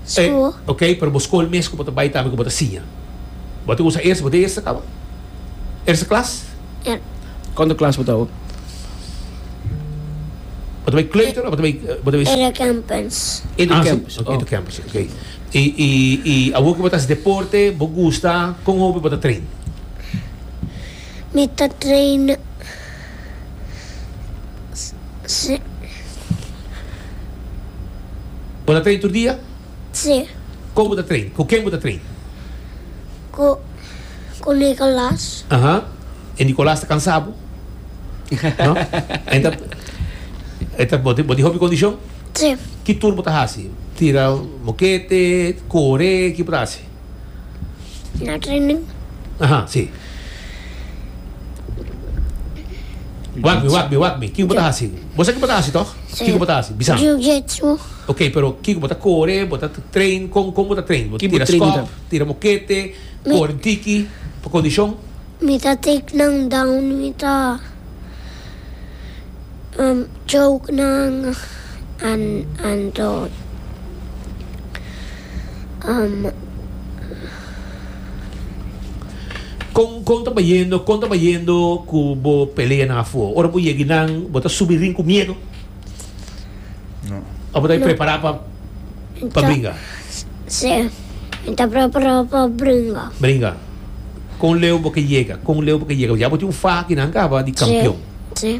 School. Ok, pero bo skol mes ku bo ta bai tambe ku bo ta siña. Bo ta usa eerste, bo ta eerste kaba? Eerste klas? Ja. Kuantu klas bo ta awo? Bo ta bai kleuter of bo ta bai bo ta bai. Edo Campus. Edo Ah, si. Campus, Ok, oh. Edo Campus, ok. I i i awor ku bo ta hasi deporte, bo gusta, kon hopi bo ta train? Mi ta train si. Bo ta train tur dia? Si. Kon bo ta train? Ku ken bo ta train? Ku ku Nicolas. Aha. E Nicolas ta kansa bo? No? En ta e ta bo tin bo tin hopi kondishon? Si. Ki tur bo ta hasi? Tira mokete, kore, ki bo ta hasi? Na training. Aha, si. Wak mi, wak mi, wak mi. Kiko bo ta hasi? Bo sa ki bo ta hasi, tòg? Si. Kiko bo ta hasi? Bisa mi. Jiu-jitsu. Ok, pero kiko bo ta kore, bo ta train, kon kon bo ta train? Bo Ki bo tira training skòp, ta? tira mokete, Mi. kore tiki, pa kondishon? Mi ta take nan down, mi ta um choke nan an anto um. Kon kon ta bayendo kon ta bayendo ku bo peleanan afó? Ora bo yega einan bo ta subi ring ku miedu? No. Òf bo ta prepará pa pa bringa? Sí, mi ta prepará pa bringa. Bringa. Kon leu bo ke yega? Kon leu bo ke yega? Ya bo tin un faha akinan kaba di kampion. Sí.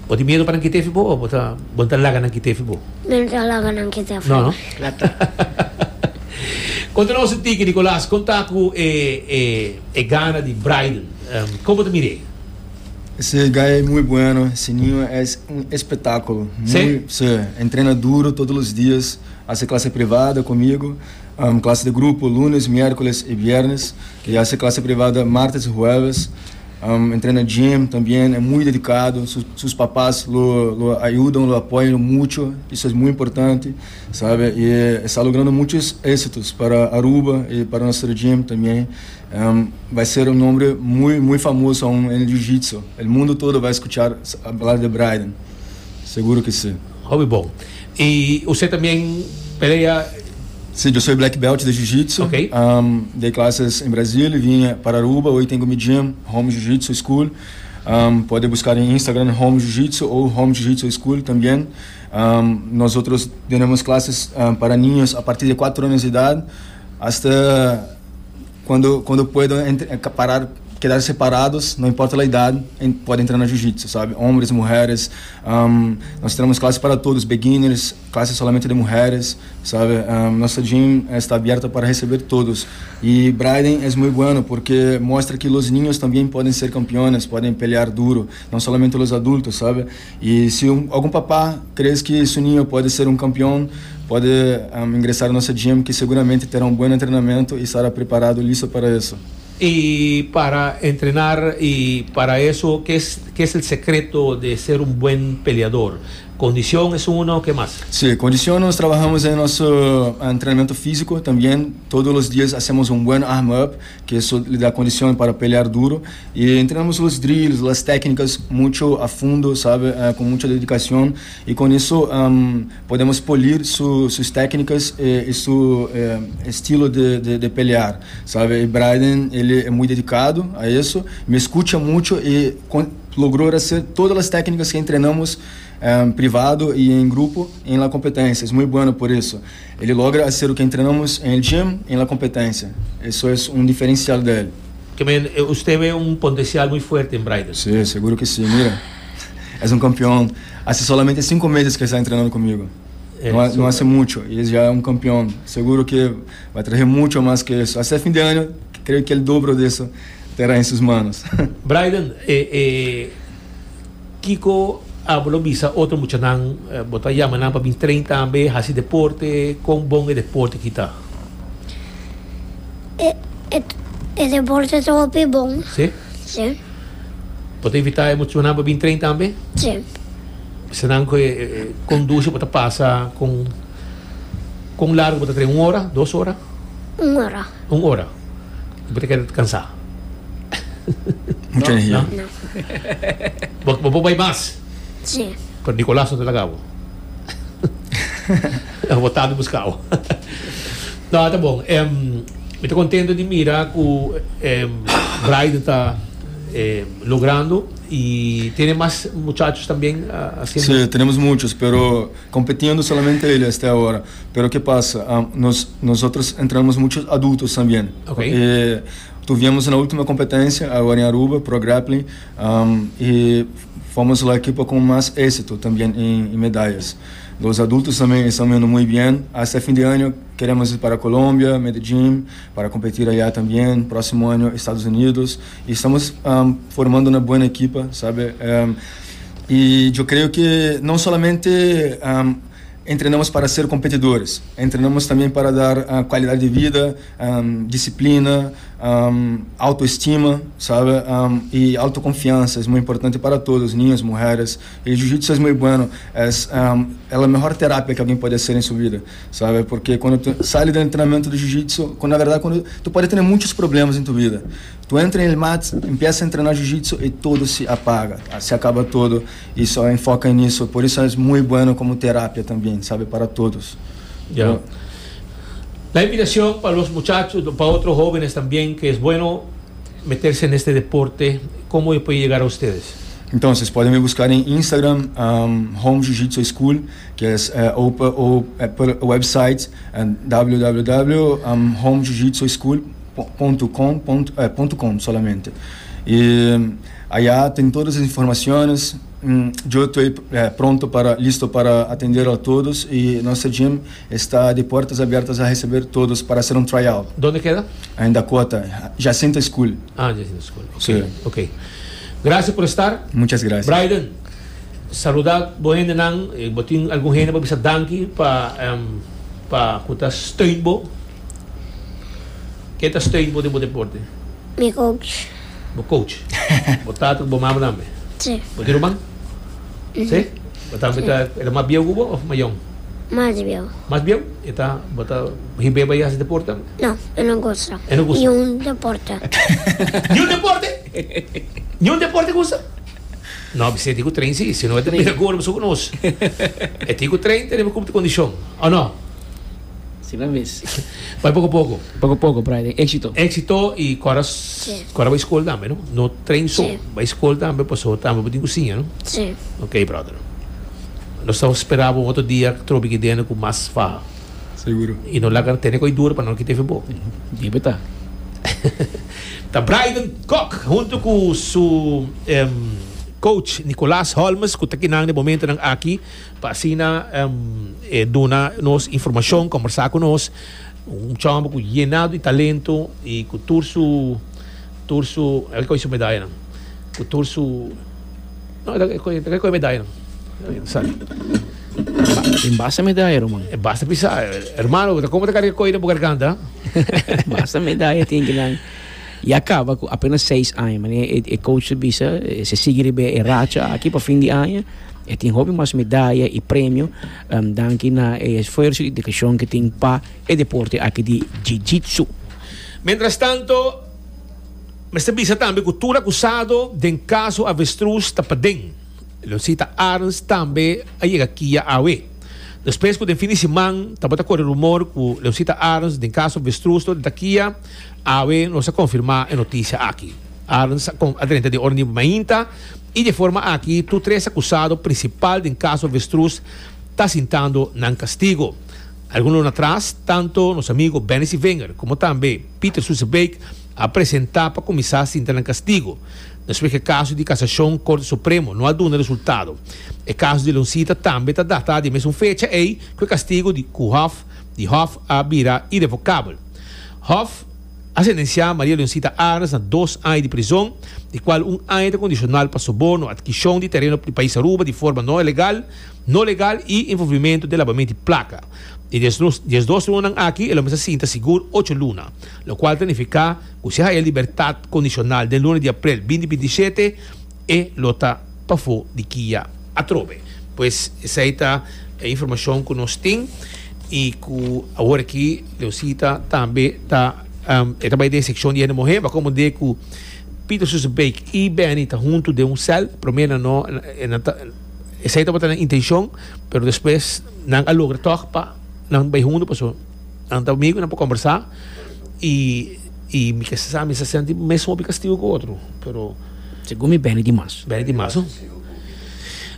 Bo tin miedu pa nan kite fi bo òf bo ta bo no ta laga nan kite fi bo? Mi no ta laga nan kite fi No, mi. no? Konta nos un tiki, Nicolas, kon ta ku e e e gana di Brayden? Kon bo ta mir'é? Ese guy es muy bueno, ese niño es un espectáculo. Sí? Muy, sí, entrena duro todos los días, hace clase privada conmigo, um, clase de grupo lunes, miércoles y viernes, y hace clase privada martes y jueves. Um, entrena gym también, es muy dedicado, sus, sus papás lo, lo ayudan, lo apoyan mucho, eso es muy importante, ¿sabe? Y está logrando muchos éxitos para Aruba y para nuestro gym también. Um, va a ser un nombre muy, muy famoso aún en el Jiu-Jitsu. El mundo todo va a escuchar hablar de Brayden, seguro que sí. Hopi bon. Y usted también pelea? Sí, yo soy black belt de Jiu-Jitsu. Ok. Um, dei clases em Brasil, vim para Aruba, hoje tenho mi gym, Home Jiu-Jitsu School. Um, pode buscar em Instagram Home Jiu-Jitsu ou Home Jiu-Jitsu School também. Um, nosotros temos clases um, para niños a partir de quatro anos de idade, hasta quando quando puedo entre, parar, quedar separados, não importa a idade, podem entrar no jiu-jitsu, sabe? Homens, mulheres. Um, nós temos classes para todos, beginners, classes somente de mulheres, sabe? Um, nossa gym está aberta para receber todos. E Brayden é muito bueno porque mostra que os niños também podem ser campeões, podem pelear duro, não somente os adultos, sabe? E se um, algum papá crê que seu niño pode ser um campeão, pode um, ingressar na nossa gym, que seguramente terá um bom treinamento e estará preparado, listo para isso. Y para entrenar y para eso, ¿qué es, qué es el secreto de ser un buen peleador? Condición es uno, ¿qué más? Sí, condición nos trabajamos en nuestro entrenamiento físico también. Todos los días hacemos un buen arm-up, que eso le da condición para pelear duro. Y entrenamos los drills, las técnicas mucho a fondo, ¿sabe? Eh, con mucha dedicación. Y con eso um, podemos polir su, sus técnicas eh, y su eh, estilo de, de, de pelear, ¿sabe? Y Brayden, ele é muito dedicado a isso, me escuta muito e con, logrou hacer todas as técnicas que treinamos um, privado e em grupo em la competência. É muito bueno por isso. Ele logra hacer o que treinamos em gym em la competência. Isso é um diferencial dele. Que me, usted ve un potencial muy fuerte en Brayden. Sí, seguro que sí. Mira, é um campeão. Hace solamente cinco meses que está treinando comigo. É, não, não hace mucho e ele já é um campeão. Seguro que vai trazer muito mais que isso. Até fim de ano, creio que o dobro disso terá em suas manos. Brayden, eh, eh, Kiko abo lo bisa otro muchanan, eh, bo ta yama nan pa bin train tambe, hasi deporte, kon bon e deporte aki ta? E, e, e deporte ta hopi bon. Si? Si. Bo ta invitá e muchanan pa bin train tambe? Si. Senang ku eh, conduce bo ta pasa kon kon largu bo ta train un ora, dos ora? Un ora. Un ora. Bo ta keda kansá. Mucha energia. No? No. Bo bo por bai mas. Si. Pero Nicolas no ta laga bo. Bo ta di buska bo. No, ta bon. Em, mi ta contento di mira ku em, Brian ta eh, logrando y tiene más muchachos también ah, haciendo. Sí, tenemos muchos, pero compitiendo solamente él hasta ahora. Pero ¿qué pasa? Um, nos, nosotros entrenamos muchos adultos también. Ok. Eh, tuvimos una última competencia ahora en Aruba, Pro Grappling, um, y fomos la equipo con más éxito también en, en medallas. Los adultos también están yendo muy bien. Hasta fin de año queremos ir para Colombia, Medellín, para competir allá también. Próximo año, Estados Unidos. Y estamos um, formando una buena equipa, ¿sabe? Um, y yo creo que no solamente um, entrenamos para ser competidores, entrenamos también para dar uh, qualidade de vida, um, disciplina, um, autoestima, sabe? Um, e autoconfiança é muito importante para todos, niños, mulheres. E jiu-jitsu é muito bueno, é, um, é a melhor terapia que alguém pode fazer em sua vida, sabe? Porque quando tu sai do treinamento do jiu-jitsu, quando na verdade quando tu pode ter muitos problemas em tua vida, tu entra em mat, empieza a treinar jiu-jitsu e todo se apaga, se acaba todo e só enfoca nisso. Por isso é muito bueno como terapia também, sabe, para todos. Ya. La invitación para los muchachos, para otros jóvenes también, que es bueno meterse en este deporte, ¿cómo puede llegar a ustedes? Então, vocês podem me buscar em Instagram, um, Home Jiu-Jitsu School, que é, é ou, ou é, por website é, www ponto homejujitsuschool ponto com é, ponto com solamente. E allá tem todas as informações. Hum, eu estou é, pronto para, listo para atender a todos e nossa gym está de portas abertas a receber todos para hacer um tryout. ¿Dónde queda? Em Dakota, Jacinta School. Ah, Jacinta School. Ok. Sí. Ok. Gracias por estar. Muchas gracias. Brian, saluda bo hendenan, eh, bo tin algun hende pa bisa danki pa um, pa ku ta steun bo. Ken ta steun bo den bo deporte? Mi coach. Bo coach. Bo tata, bo mama tambe. Si. Bo tin ruman? Si? Bo tambe ta, e ta mas bieu ku bo òf mayó? Mas bieu. Mas bieu? E ta, bo ta hib'é bai hasi deporte tambe? No, e no gusta. E no gusta. Niun deporte. Niun deporte? Niun deporte gusta? No, e tin ku train si, si no e ta mira gordo so ku nos. E tin ku train, tenemos ku kondishon. O no? Si, na bes. Bai poko poko. Poko poko, Brian. Éksito. Éksito i awor Si. awor bai skol tambe, no? No train so, Si. Bai skol tambe, paso tambe bo tin ku siña, no? Si. Ok, brother. Nos ta spera un otro dia trobe aki den ku mas faha. Seguro. I no laga tene kos duru pa no kita bo. Debe ta. Ta Brian Kock huntu ku su um, coach Nicolas Holmes ku ta aki na momento nan aki pa asina um, eh, duna nos informashon, kombersá ku nos un chòmber ku yená di talento i ku tur su tur su el ku su medaya nan ku tur su no el ku medaya nan sali. Tin basta medaya, ruman. Eh, basta pisa, hermano, kon ta karga kos na garganta? Basta medaya tin ku nan. I a kaba ku apenas seis aña, ma e, e coach bisa, si sigui e racha aki pa fin di aña, e tin hopi mas medaya i premio, um, danki na e esfuerso i dedikashon ku tin pa e deporte aki di jiu-jitsu. Mientras tanto, mester bisa tambe ku tur akusado den kaso Avestruz ta paden. Leoncita Arends tambe a yega K I A awe. Despues ku den fin di siman tabata kore rumor ku Leoncita Arends den kaso Avestruz ta K I A, awe nos a konfirmá e notisia aki. Arends a drenta den ora di mainta i di forma aki tur tres akusado prinsipal den kaso Avestruz ta sintando nan kastigu. Algun luna atras, tantu nos amigu Benny Wenger komo tambe Peter Susebeek a presentá pa kuminsá sinta nan kastigu. Despues ku e kaso di kasashon Korte Supremo no a duna resultado. E kaso di Leoncita tambe ta datá di mesun fecha ei ku e kastigu di Hof, di Hof a bira irrevocabel. Hof a sentensiá Maria Leoncita Arends na dos aña di prizòn, di kual un aña kondishonal pa soborno, atkisishon di tereno di pais Aruba di forma no legal, no legal i envolvimentu den labamentu di plaka. E diesdos luna aki, el a sinta sigur ocho luna, lokual ta nifiká ku si e libertat kondishonal den luna di aprel dos mil binti shete, e lo ta pafó di K I A atrobe. Pues esei ta e informashon ku nos tin i ku awor aki Leosita tambe ta um, e ta bai den sekshon di hende muhé. Bo a komprendé ku Peter Susenbeek i Benny ta huntu den un sèl. Promé nan no nan ta esei tabata nan intenshon, pero despues nan a logra tòg pa nan bai huntu pasobra nan ta amigu, nan por kombersá i i mi ke sa mi sa senti mes hopi kastigu ku otro, pero Segun mi Benny di mas. Benny di mas, no?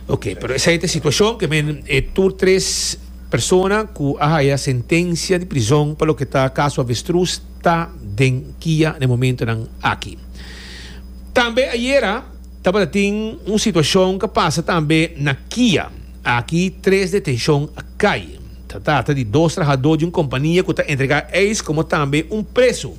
Ok, pero esei ta e situashon ke men e tur tres persona ku a haya sentensia di prizon pa loke ta kaso Avestruz ta den kia na e momentonan aki. Tambe ayera tabata tin un situashon ku a pasa tambe na kia. Aki tres detenshon a kai. Ta trata di dos trahadó di un kompania ku ta entregá eis komo tambe un presu.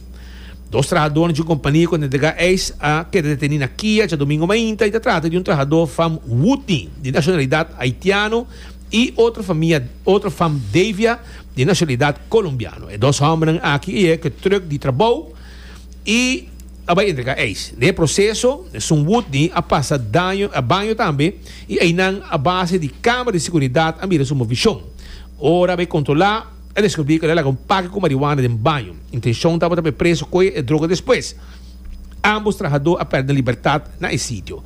Dos trahadónan di un kompania ku ta entregá eis a keda detení na kia djadumingu mainta i ta trata di un trahadó fam Woodney di nashonalidat haitiano i otro famia otro fam Davia di nashonalidat kolombiano. E dos hòmbernan aki a yega ku e trùk di trabou i a bai entregá eis. Den e proseso, esun Woodney a pasa daño a baño tambe i einan a base di kámara di seguridat a mira su movishon. Ora a bai kontrolá, a deskubrí ku el a laga un pake ku marihuana den baño. Intenshon tabata pa e preso kohe e droga despues. Ámbos trahadó a pèrdè nan libertat na e sitio.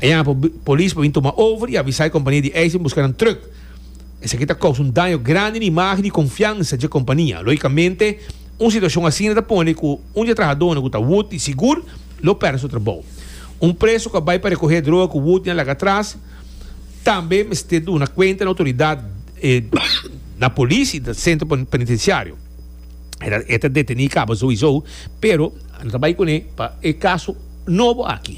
A yama polis pa bin tuma over i avisá e kompania di eis pa buska nan trùk. Esaki ta kousa un daño grandi na imágen i konfiansa dje kompania. Lógikamente, un situashon asina ta pone ku un dje trahadónan ku ta Wood i sigur lo pèrdè su trabou. Un preso ku a bai pa rekohé droga ku Wood a laga atras tambe mester duna kuenta na outoridat, na polis i na sentro penitensiario. E ta detení kaba souiso, pero nan ta bai kuné pa e kaso nobo aki.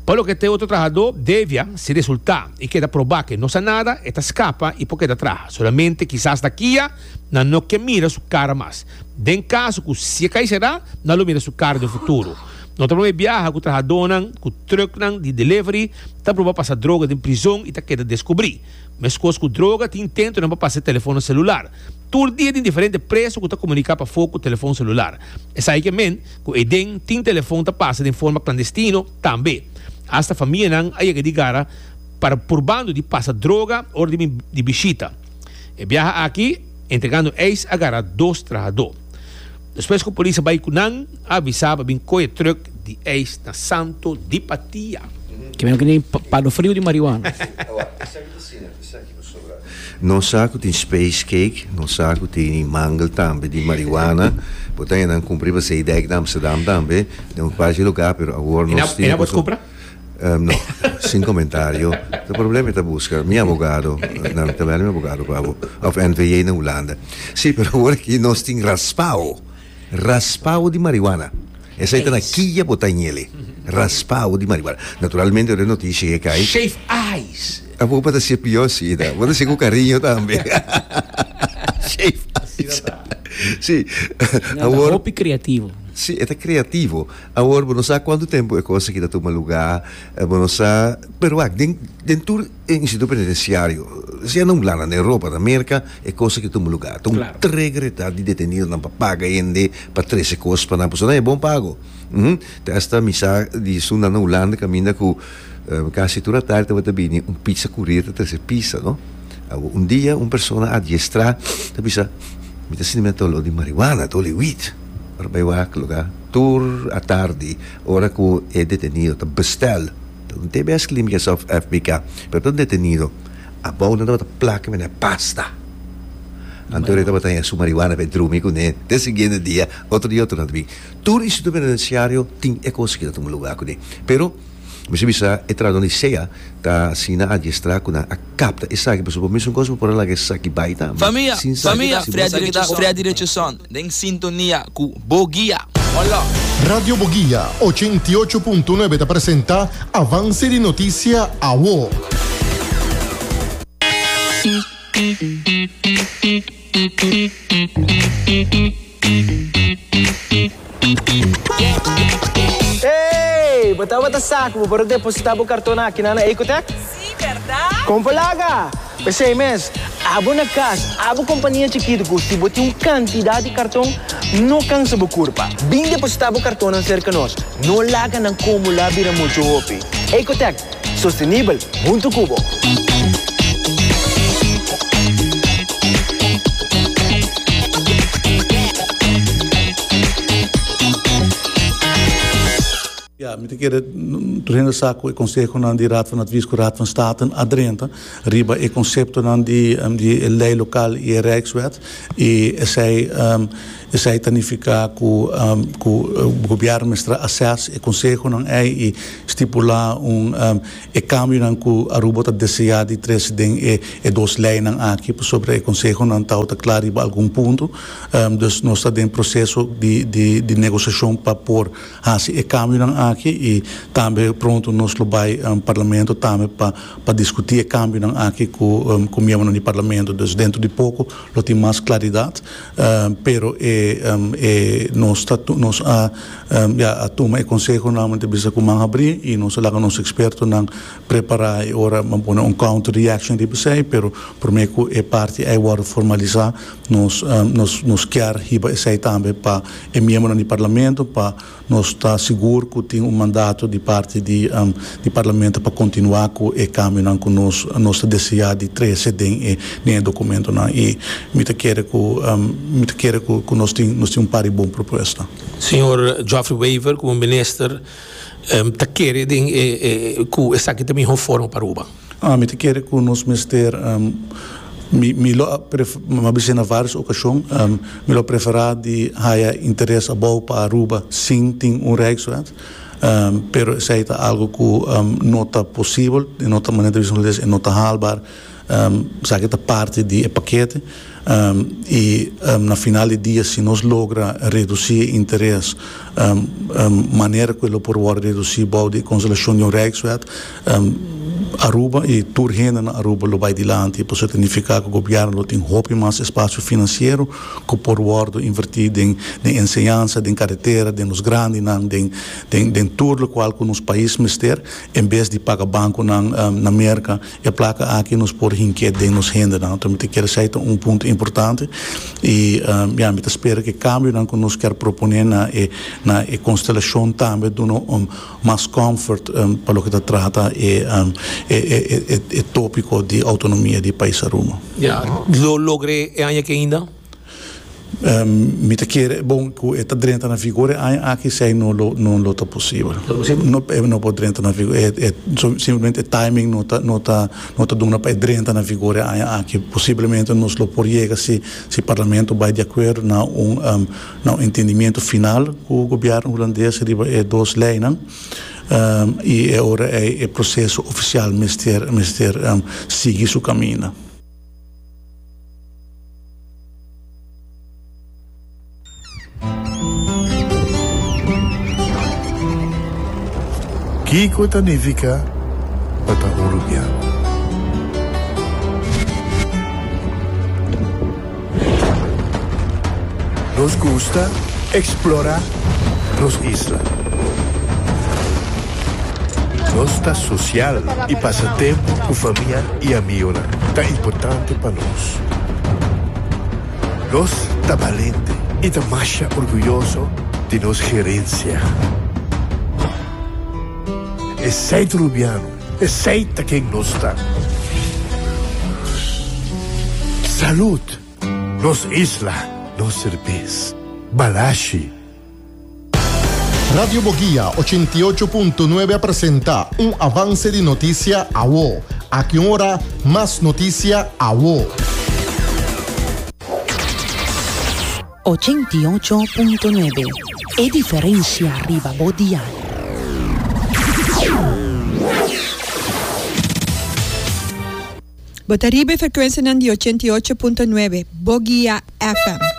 Pa loke ta e otro trahadó, Devia, si resultá i keda probá ku e no sa nada, e ta skapa i por keda traha. Solamente kisas na kia nan no ke mira su kara mas. Den kaso ku si e kai será, nan lo mira su kara den futuro. No ta promé biaha ku trahadónan ku trùknan di delivery ta proba pasa droga den prizon i ta keda deskubrí. Meskos ku droga, tin intentonan pa pasa e telefonnan selular. Tur dia tin diferente preso ku ta komuniká pafó ku telefon selular. Esaki ke men ku eden tin telefon ta pasa den forma klandestino tambe. Asta famianan a yega di gara para purbando di pasa droga ora di bin di bishita. E biaha aki entregando eis a gara dos trahadó. Despues ku polis a bai ku nan a avisá pa bin kohe trùk di eis na Santo di Patia. Ke men ku tin palo friu di marihuana. Nos sa ku tin space cake, nos sa ku tin mangel tambe di marihuana. Bo ta nan kumpra riba Zeedijk na Amsterdam tambe, den un par di lugá, pero awor nos tin. E na bo kumpra? No, sin komentario. Ta problema e ta buska mi abogado, nan ta bel mi abogado pa bo, òf N V J na Hulanda. Sí, pero awor aki nos tin raspao, raspao di marihuana. Esei ta na kia bo ta ñele, raspao di marihuana. Naturalmente ora e notisia e kai. Shave ice. Abo bo ta hacié pió asina. Bo ta hacié cu cariño tambe. Shave ice. Sí. Awor. Hopi creativo. Sí, e ta creativo. Awor bo no sa cuanto tempo e cos aki ta tuma lugar. Bo no sa, pero wak, den den tur instituto penitenciario, sea na Hulanda, na Europa, na Merca, e cos aki ta tuma lugar. Ta un trigger e ta di detenidonan pa paga hende pa trece cos pa nan, pasobra nan e bon pago. Te hasta mi sa di esunnan na Hulanda caminda cu Casi tur atardi tabata bini un pizza courier ta trece pizza, no? Awo un dia un persona adiestrá ta bisa, Mi ta sinti mi ta olor di marihuana, ta olor di weed. Ora bai wak lugar tur atardi ora cu e detenido ta bestel, ta un T B S Clínicas of F B K, pero ta un detenido, abou nan tabata plaka mene pasta. Anto e tabata haña su marihuana pa e drumi cune te siguiente dia, otro dia otro nan ta bin. Tur instituto penitenciario tin e cos aki ta tuma lugar cune, pero. Mester bisa e trahadónan di sea ta asina adiestrá ku nan a kapta esaki, pasobra bo mesun kos bo por a laga esaki bai tambe Famia, sin sa famia, si bo Freddy si Richardson, bo Freddy Richardson den sintonia ku Bo Guia. Hola. Radio Boguia ochenta i ocho punto nuebe ta presenta Avance di Noticia Awo. Hey! Bo tabata sa ku bo por a depositá bo karton akinan na Ecotech? Sí, bèrdat? Kon por laga! P'esei mes, abo na kas, abo kompania chikitu ku si bo tin un kantidat di karton, no kansa bo kurpa. Bin depositá bo kartonnan serka nos. No laga nan kumulá bira muchu hopi. Ecotech, sostenibel huntu ku bo! Mi ke tur hende sa ku e konsehonan di Raad van Advies ku Raad van State a drenta riba e konseptonan di um, di lei lokal i Rijkswet i esei um, esei ta nifiká ku um, ku gobièrnu mester assess e konsehonan ei i stipulá un um, e kambionan ku Aruba ta deseá di trese den e, e dos leinan aki sobre e konsehonan ta kla riba algun punto um, dus nos ta den proseso di, di, di negosiashon pa por hasi e kambionan aki i tambe pronto nos lo bai um, parlamento tambe pa pa diskutí e kambionan aki ku um, ku miembronan di parlamento. Dus dentro di poko lo tin mas klaridat, um, pero e, um, e nos ta nos a um, ja, a tuma e konsehonan bisa ku man habrí i nos a laga nos ekspertonan prepará i ora ban pone un counter reaction di esei, pero promé ku e parti ei wòrdu formalisá nos um, nos nos ke hiba esei tambe pa e miembronan di parlamento pa nos ta sigur ku tin un mandato di parti di um, di parlamento pa kontinuá ku e kambionan ku nos nos ta deseá di trese den e den dokumentonan i mi ta kere ku um, mi ta kere ku, ku nos tin nos tin un par di bon propuesta. Señor Geoffrey Wever, komo minister, um, ta kere den eh, eh, ku esaki ta mihó forma pa Aruba. Ah, mi ta kere ku nos mester um, mi mi lo m'a bisa na vários okashon um, mi lo preferá di haya interes abou pa Aruba sin tin un Rijkswet um, pero esei ta algu ku um, no ta posibel, no ta manera di no ta haalbaar um, esaki ta parti di pakete um, i um, na final di dia si nos logra redusí interes um, um, manera ku por redusí di konstelashon di un Rijkswet um, Aruba i tur hende na Aruba lo bai dilanti, por nifiká ku gobièrnu lo tin hopi mas espasio finansiero ku por wòrdu invertí den, den enseñansa, den karetera, den nos grandinan, den den den tur lokual ku nos pais mester, en bes di paga bankonan um, na Merka, e plaka aki nos por hink'é den nos hendenan. Anto, mi ke esei un punto importante i um, ja, mi ta spera ku kambionan ku nos ke proponé na e na e konstelashon tambe duna um, mas comfort um, pa loke ta trata e, um, e, e, e, e tópiko di outonomia di pais Aruba. Ja, lo logr'é e aña aki ainda? Um, mi ta kere, bon, ku e ta drenta na vigor aki esei no lo no lo ta posibel. No no por drenta na vigor, e, e, simplemente e timing no ta no ta no ta duna pa drenta na vigor aki. Posiblemente nos lo por yega si si parlamento bai di akuerdo na un um, na un entendimentu final ku gobièrnu hulandes riba e dos leinan. Um, i ora e, e proseso ofisial mester mester um, sigui su kaminda. Kiko ta nifiká pa ta un rubiano? Nos gusta eksplorá nos isla. Nos ta sosial i pasa tempu ku famia i amigunan ta importante pa nos. Nos ta balente i ta masha orguyoso di nos herensia. Esei ta rubiano, esei ta ken nos ta. Salud! Nos isla, nos serbes. Balashi. Radio Bo Guia ochenta i ocho punto nuebe a presentá un avanse di notisia awo. Aki ora, mas notisia awo. ochenta i ocho punto nuebe. E diferensia riba bo dial. Bo ta riba e frekuensianan di ochenta i ocho punto nuebe, Bo Guia F M.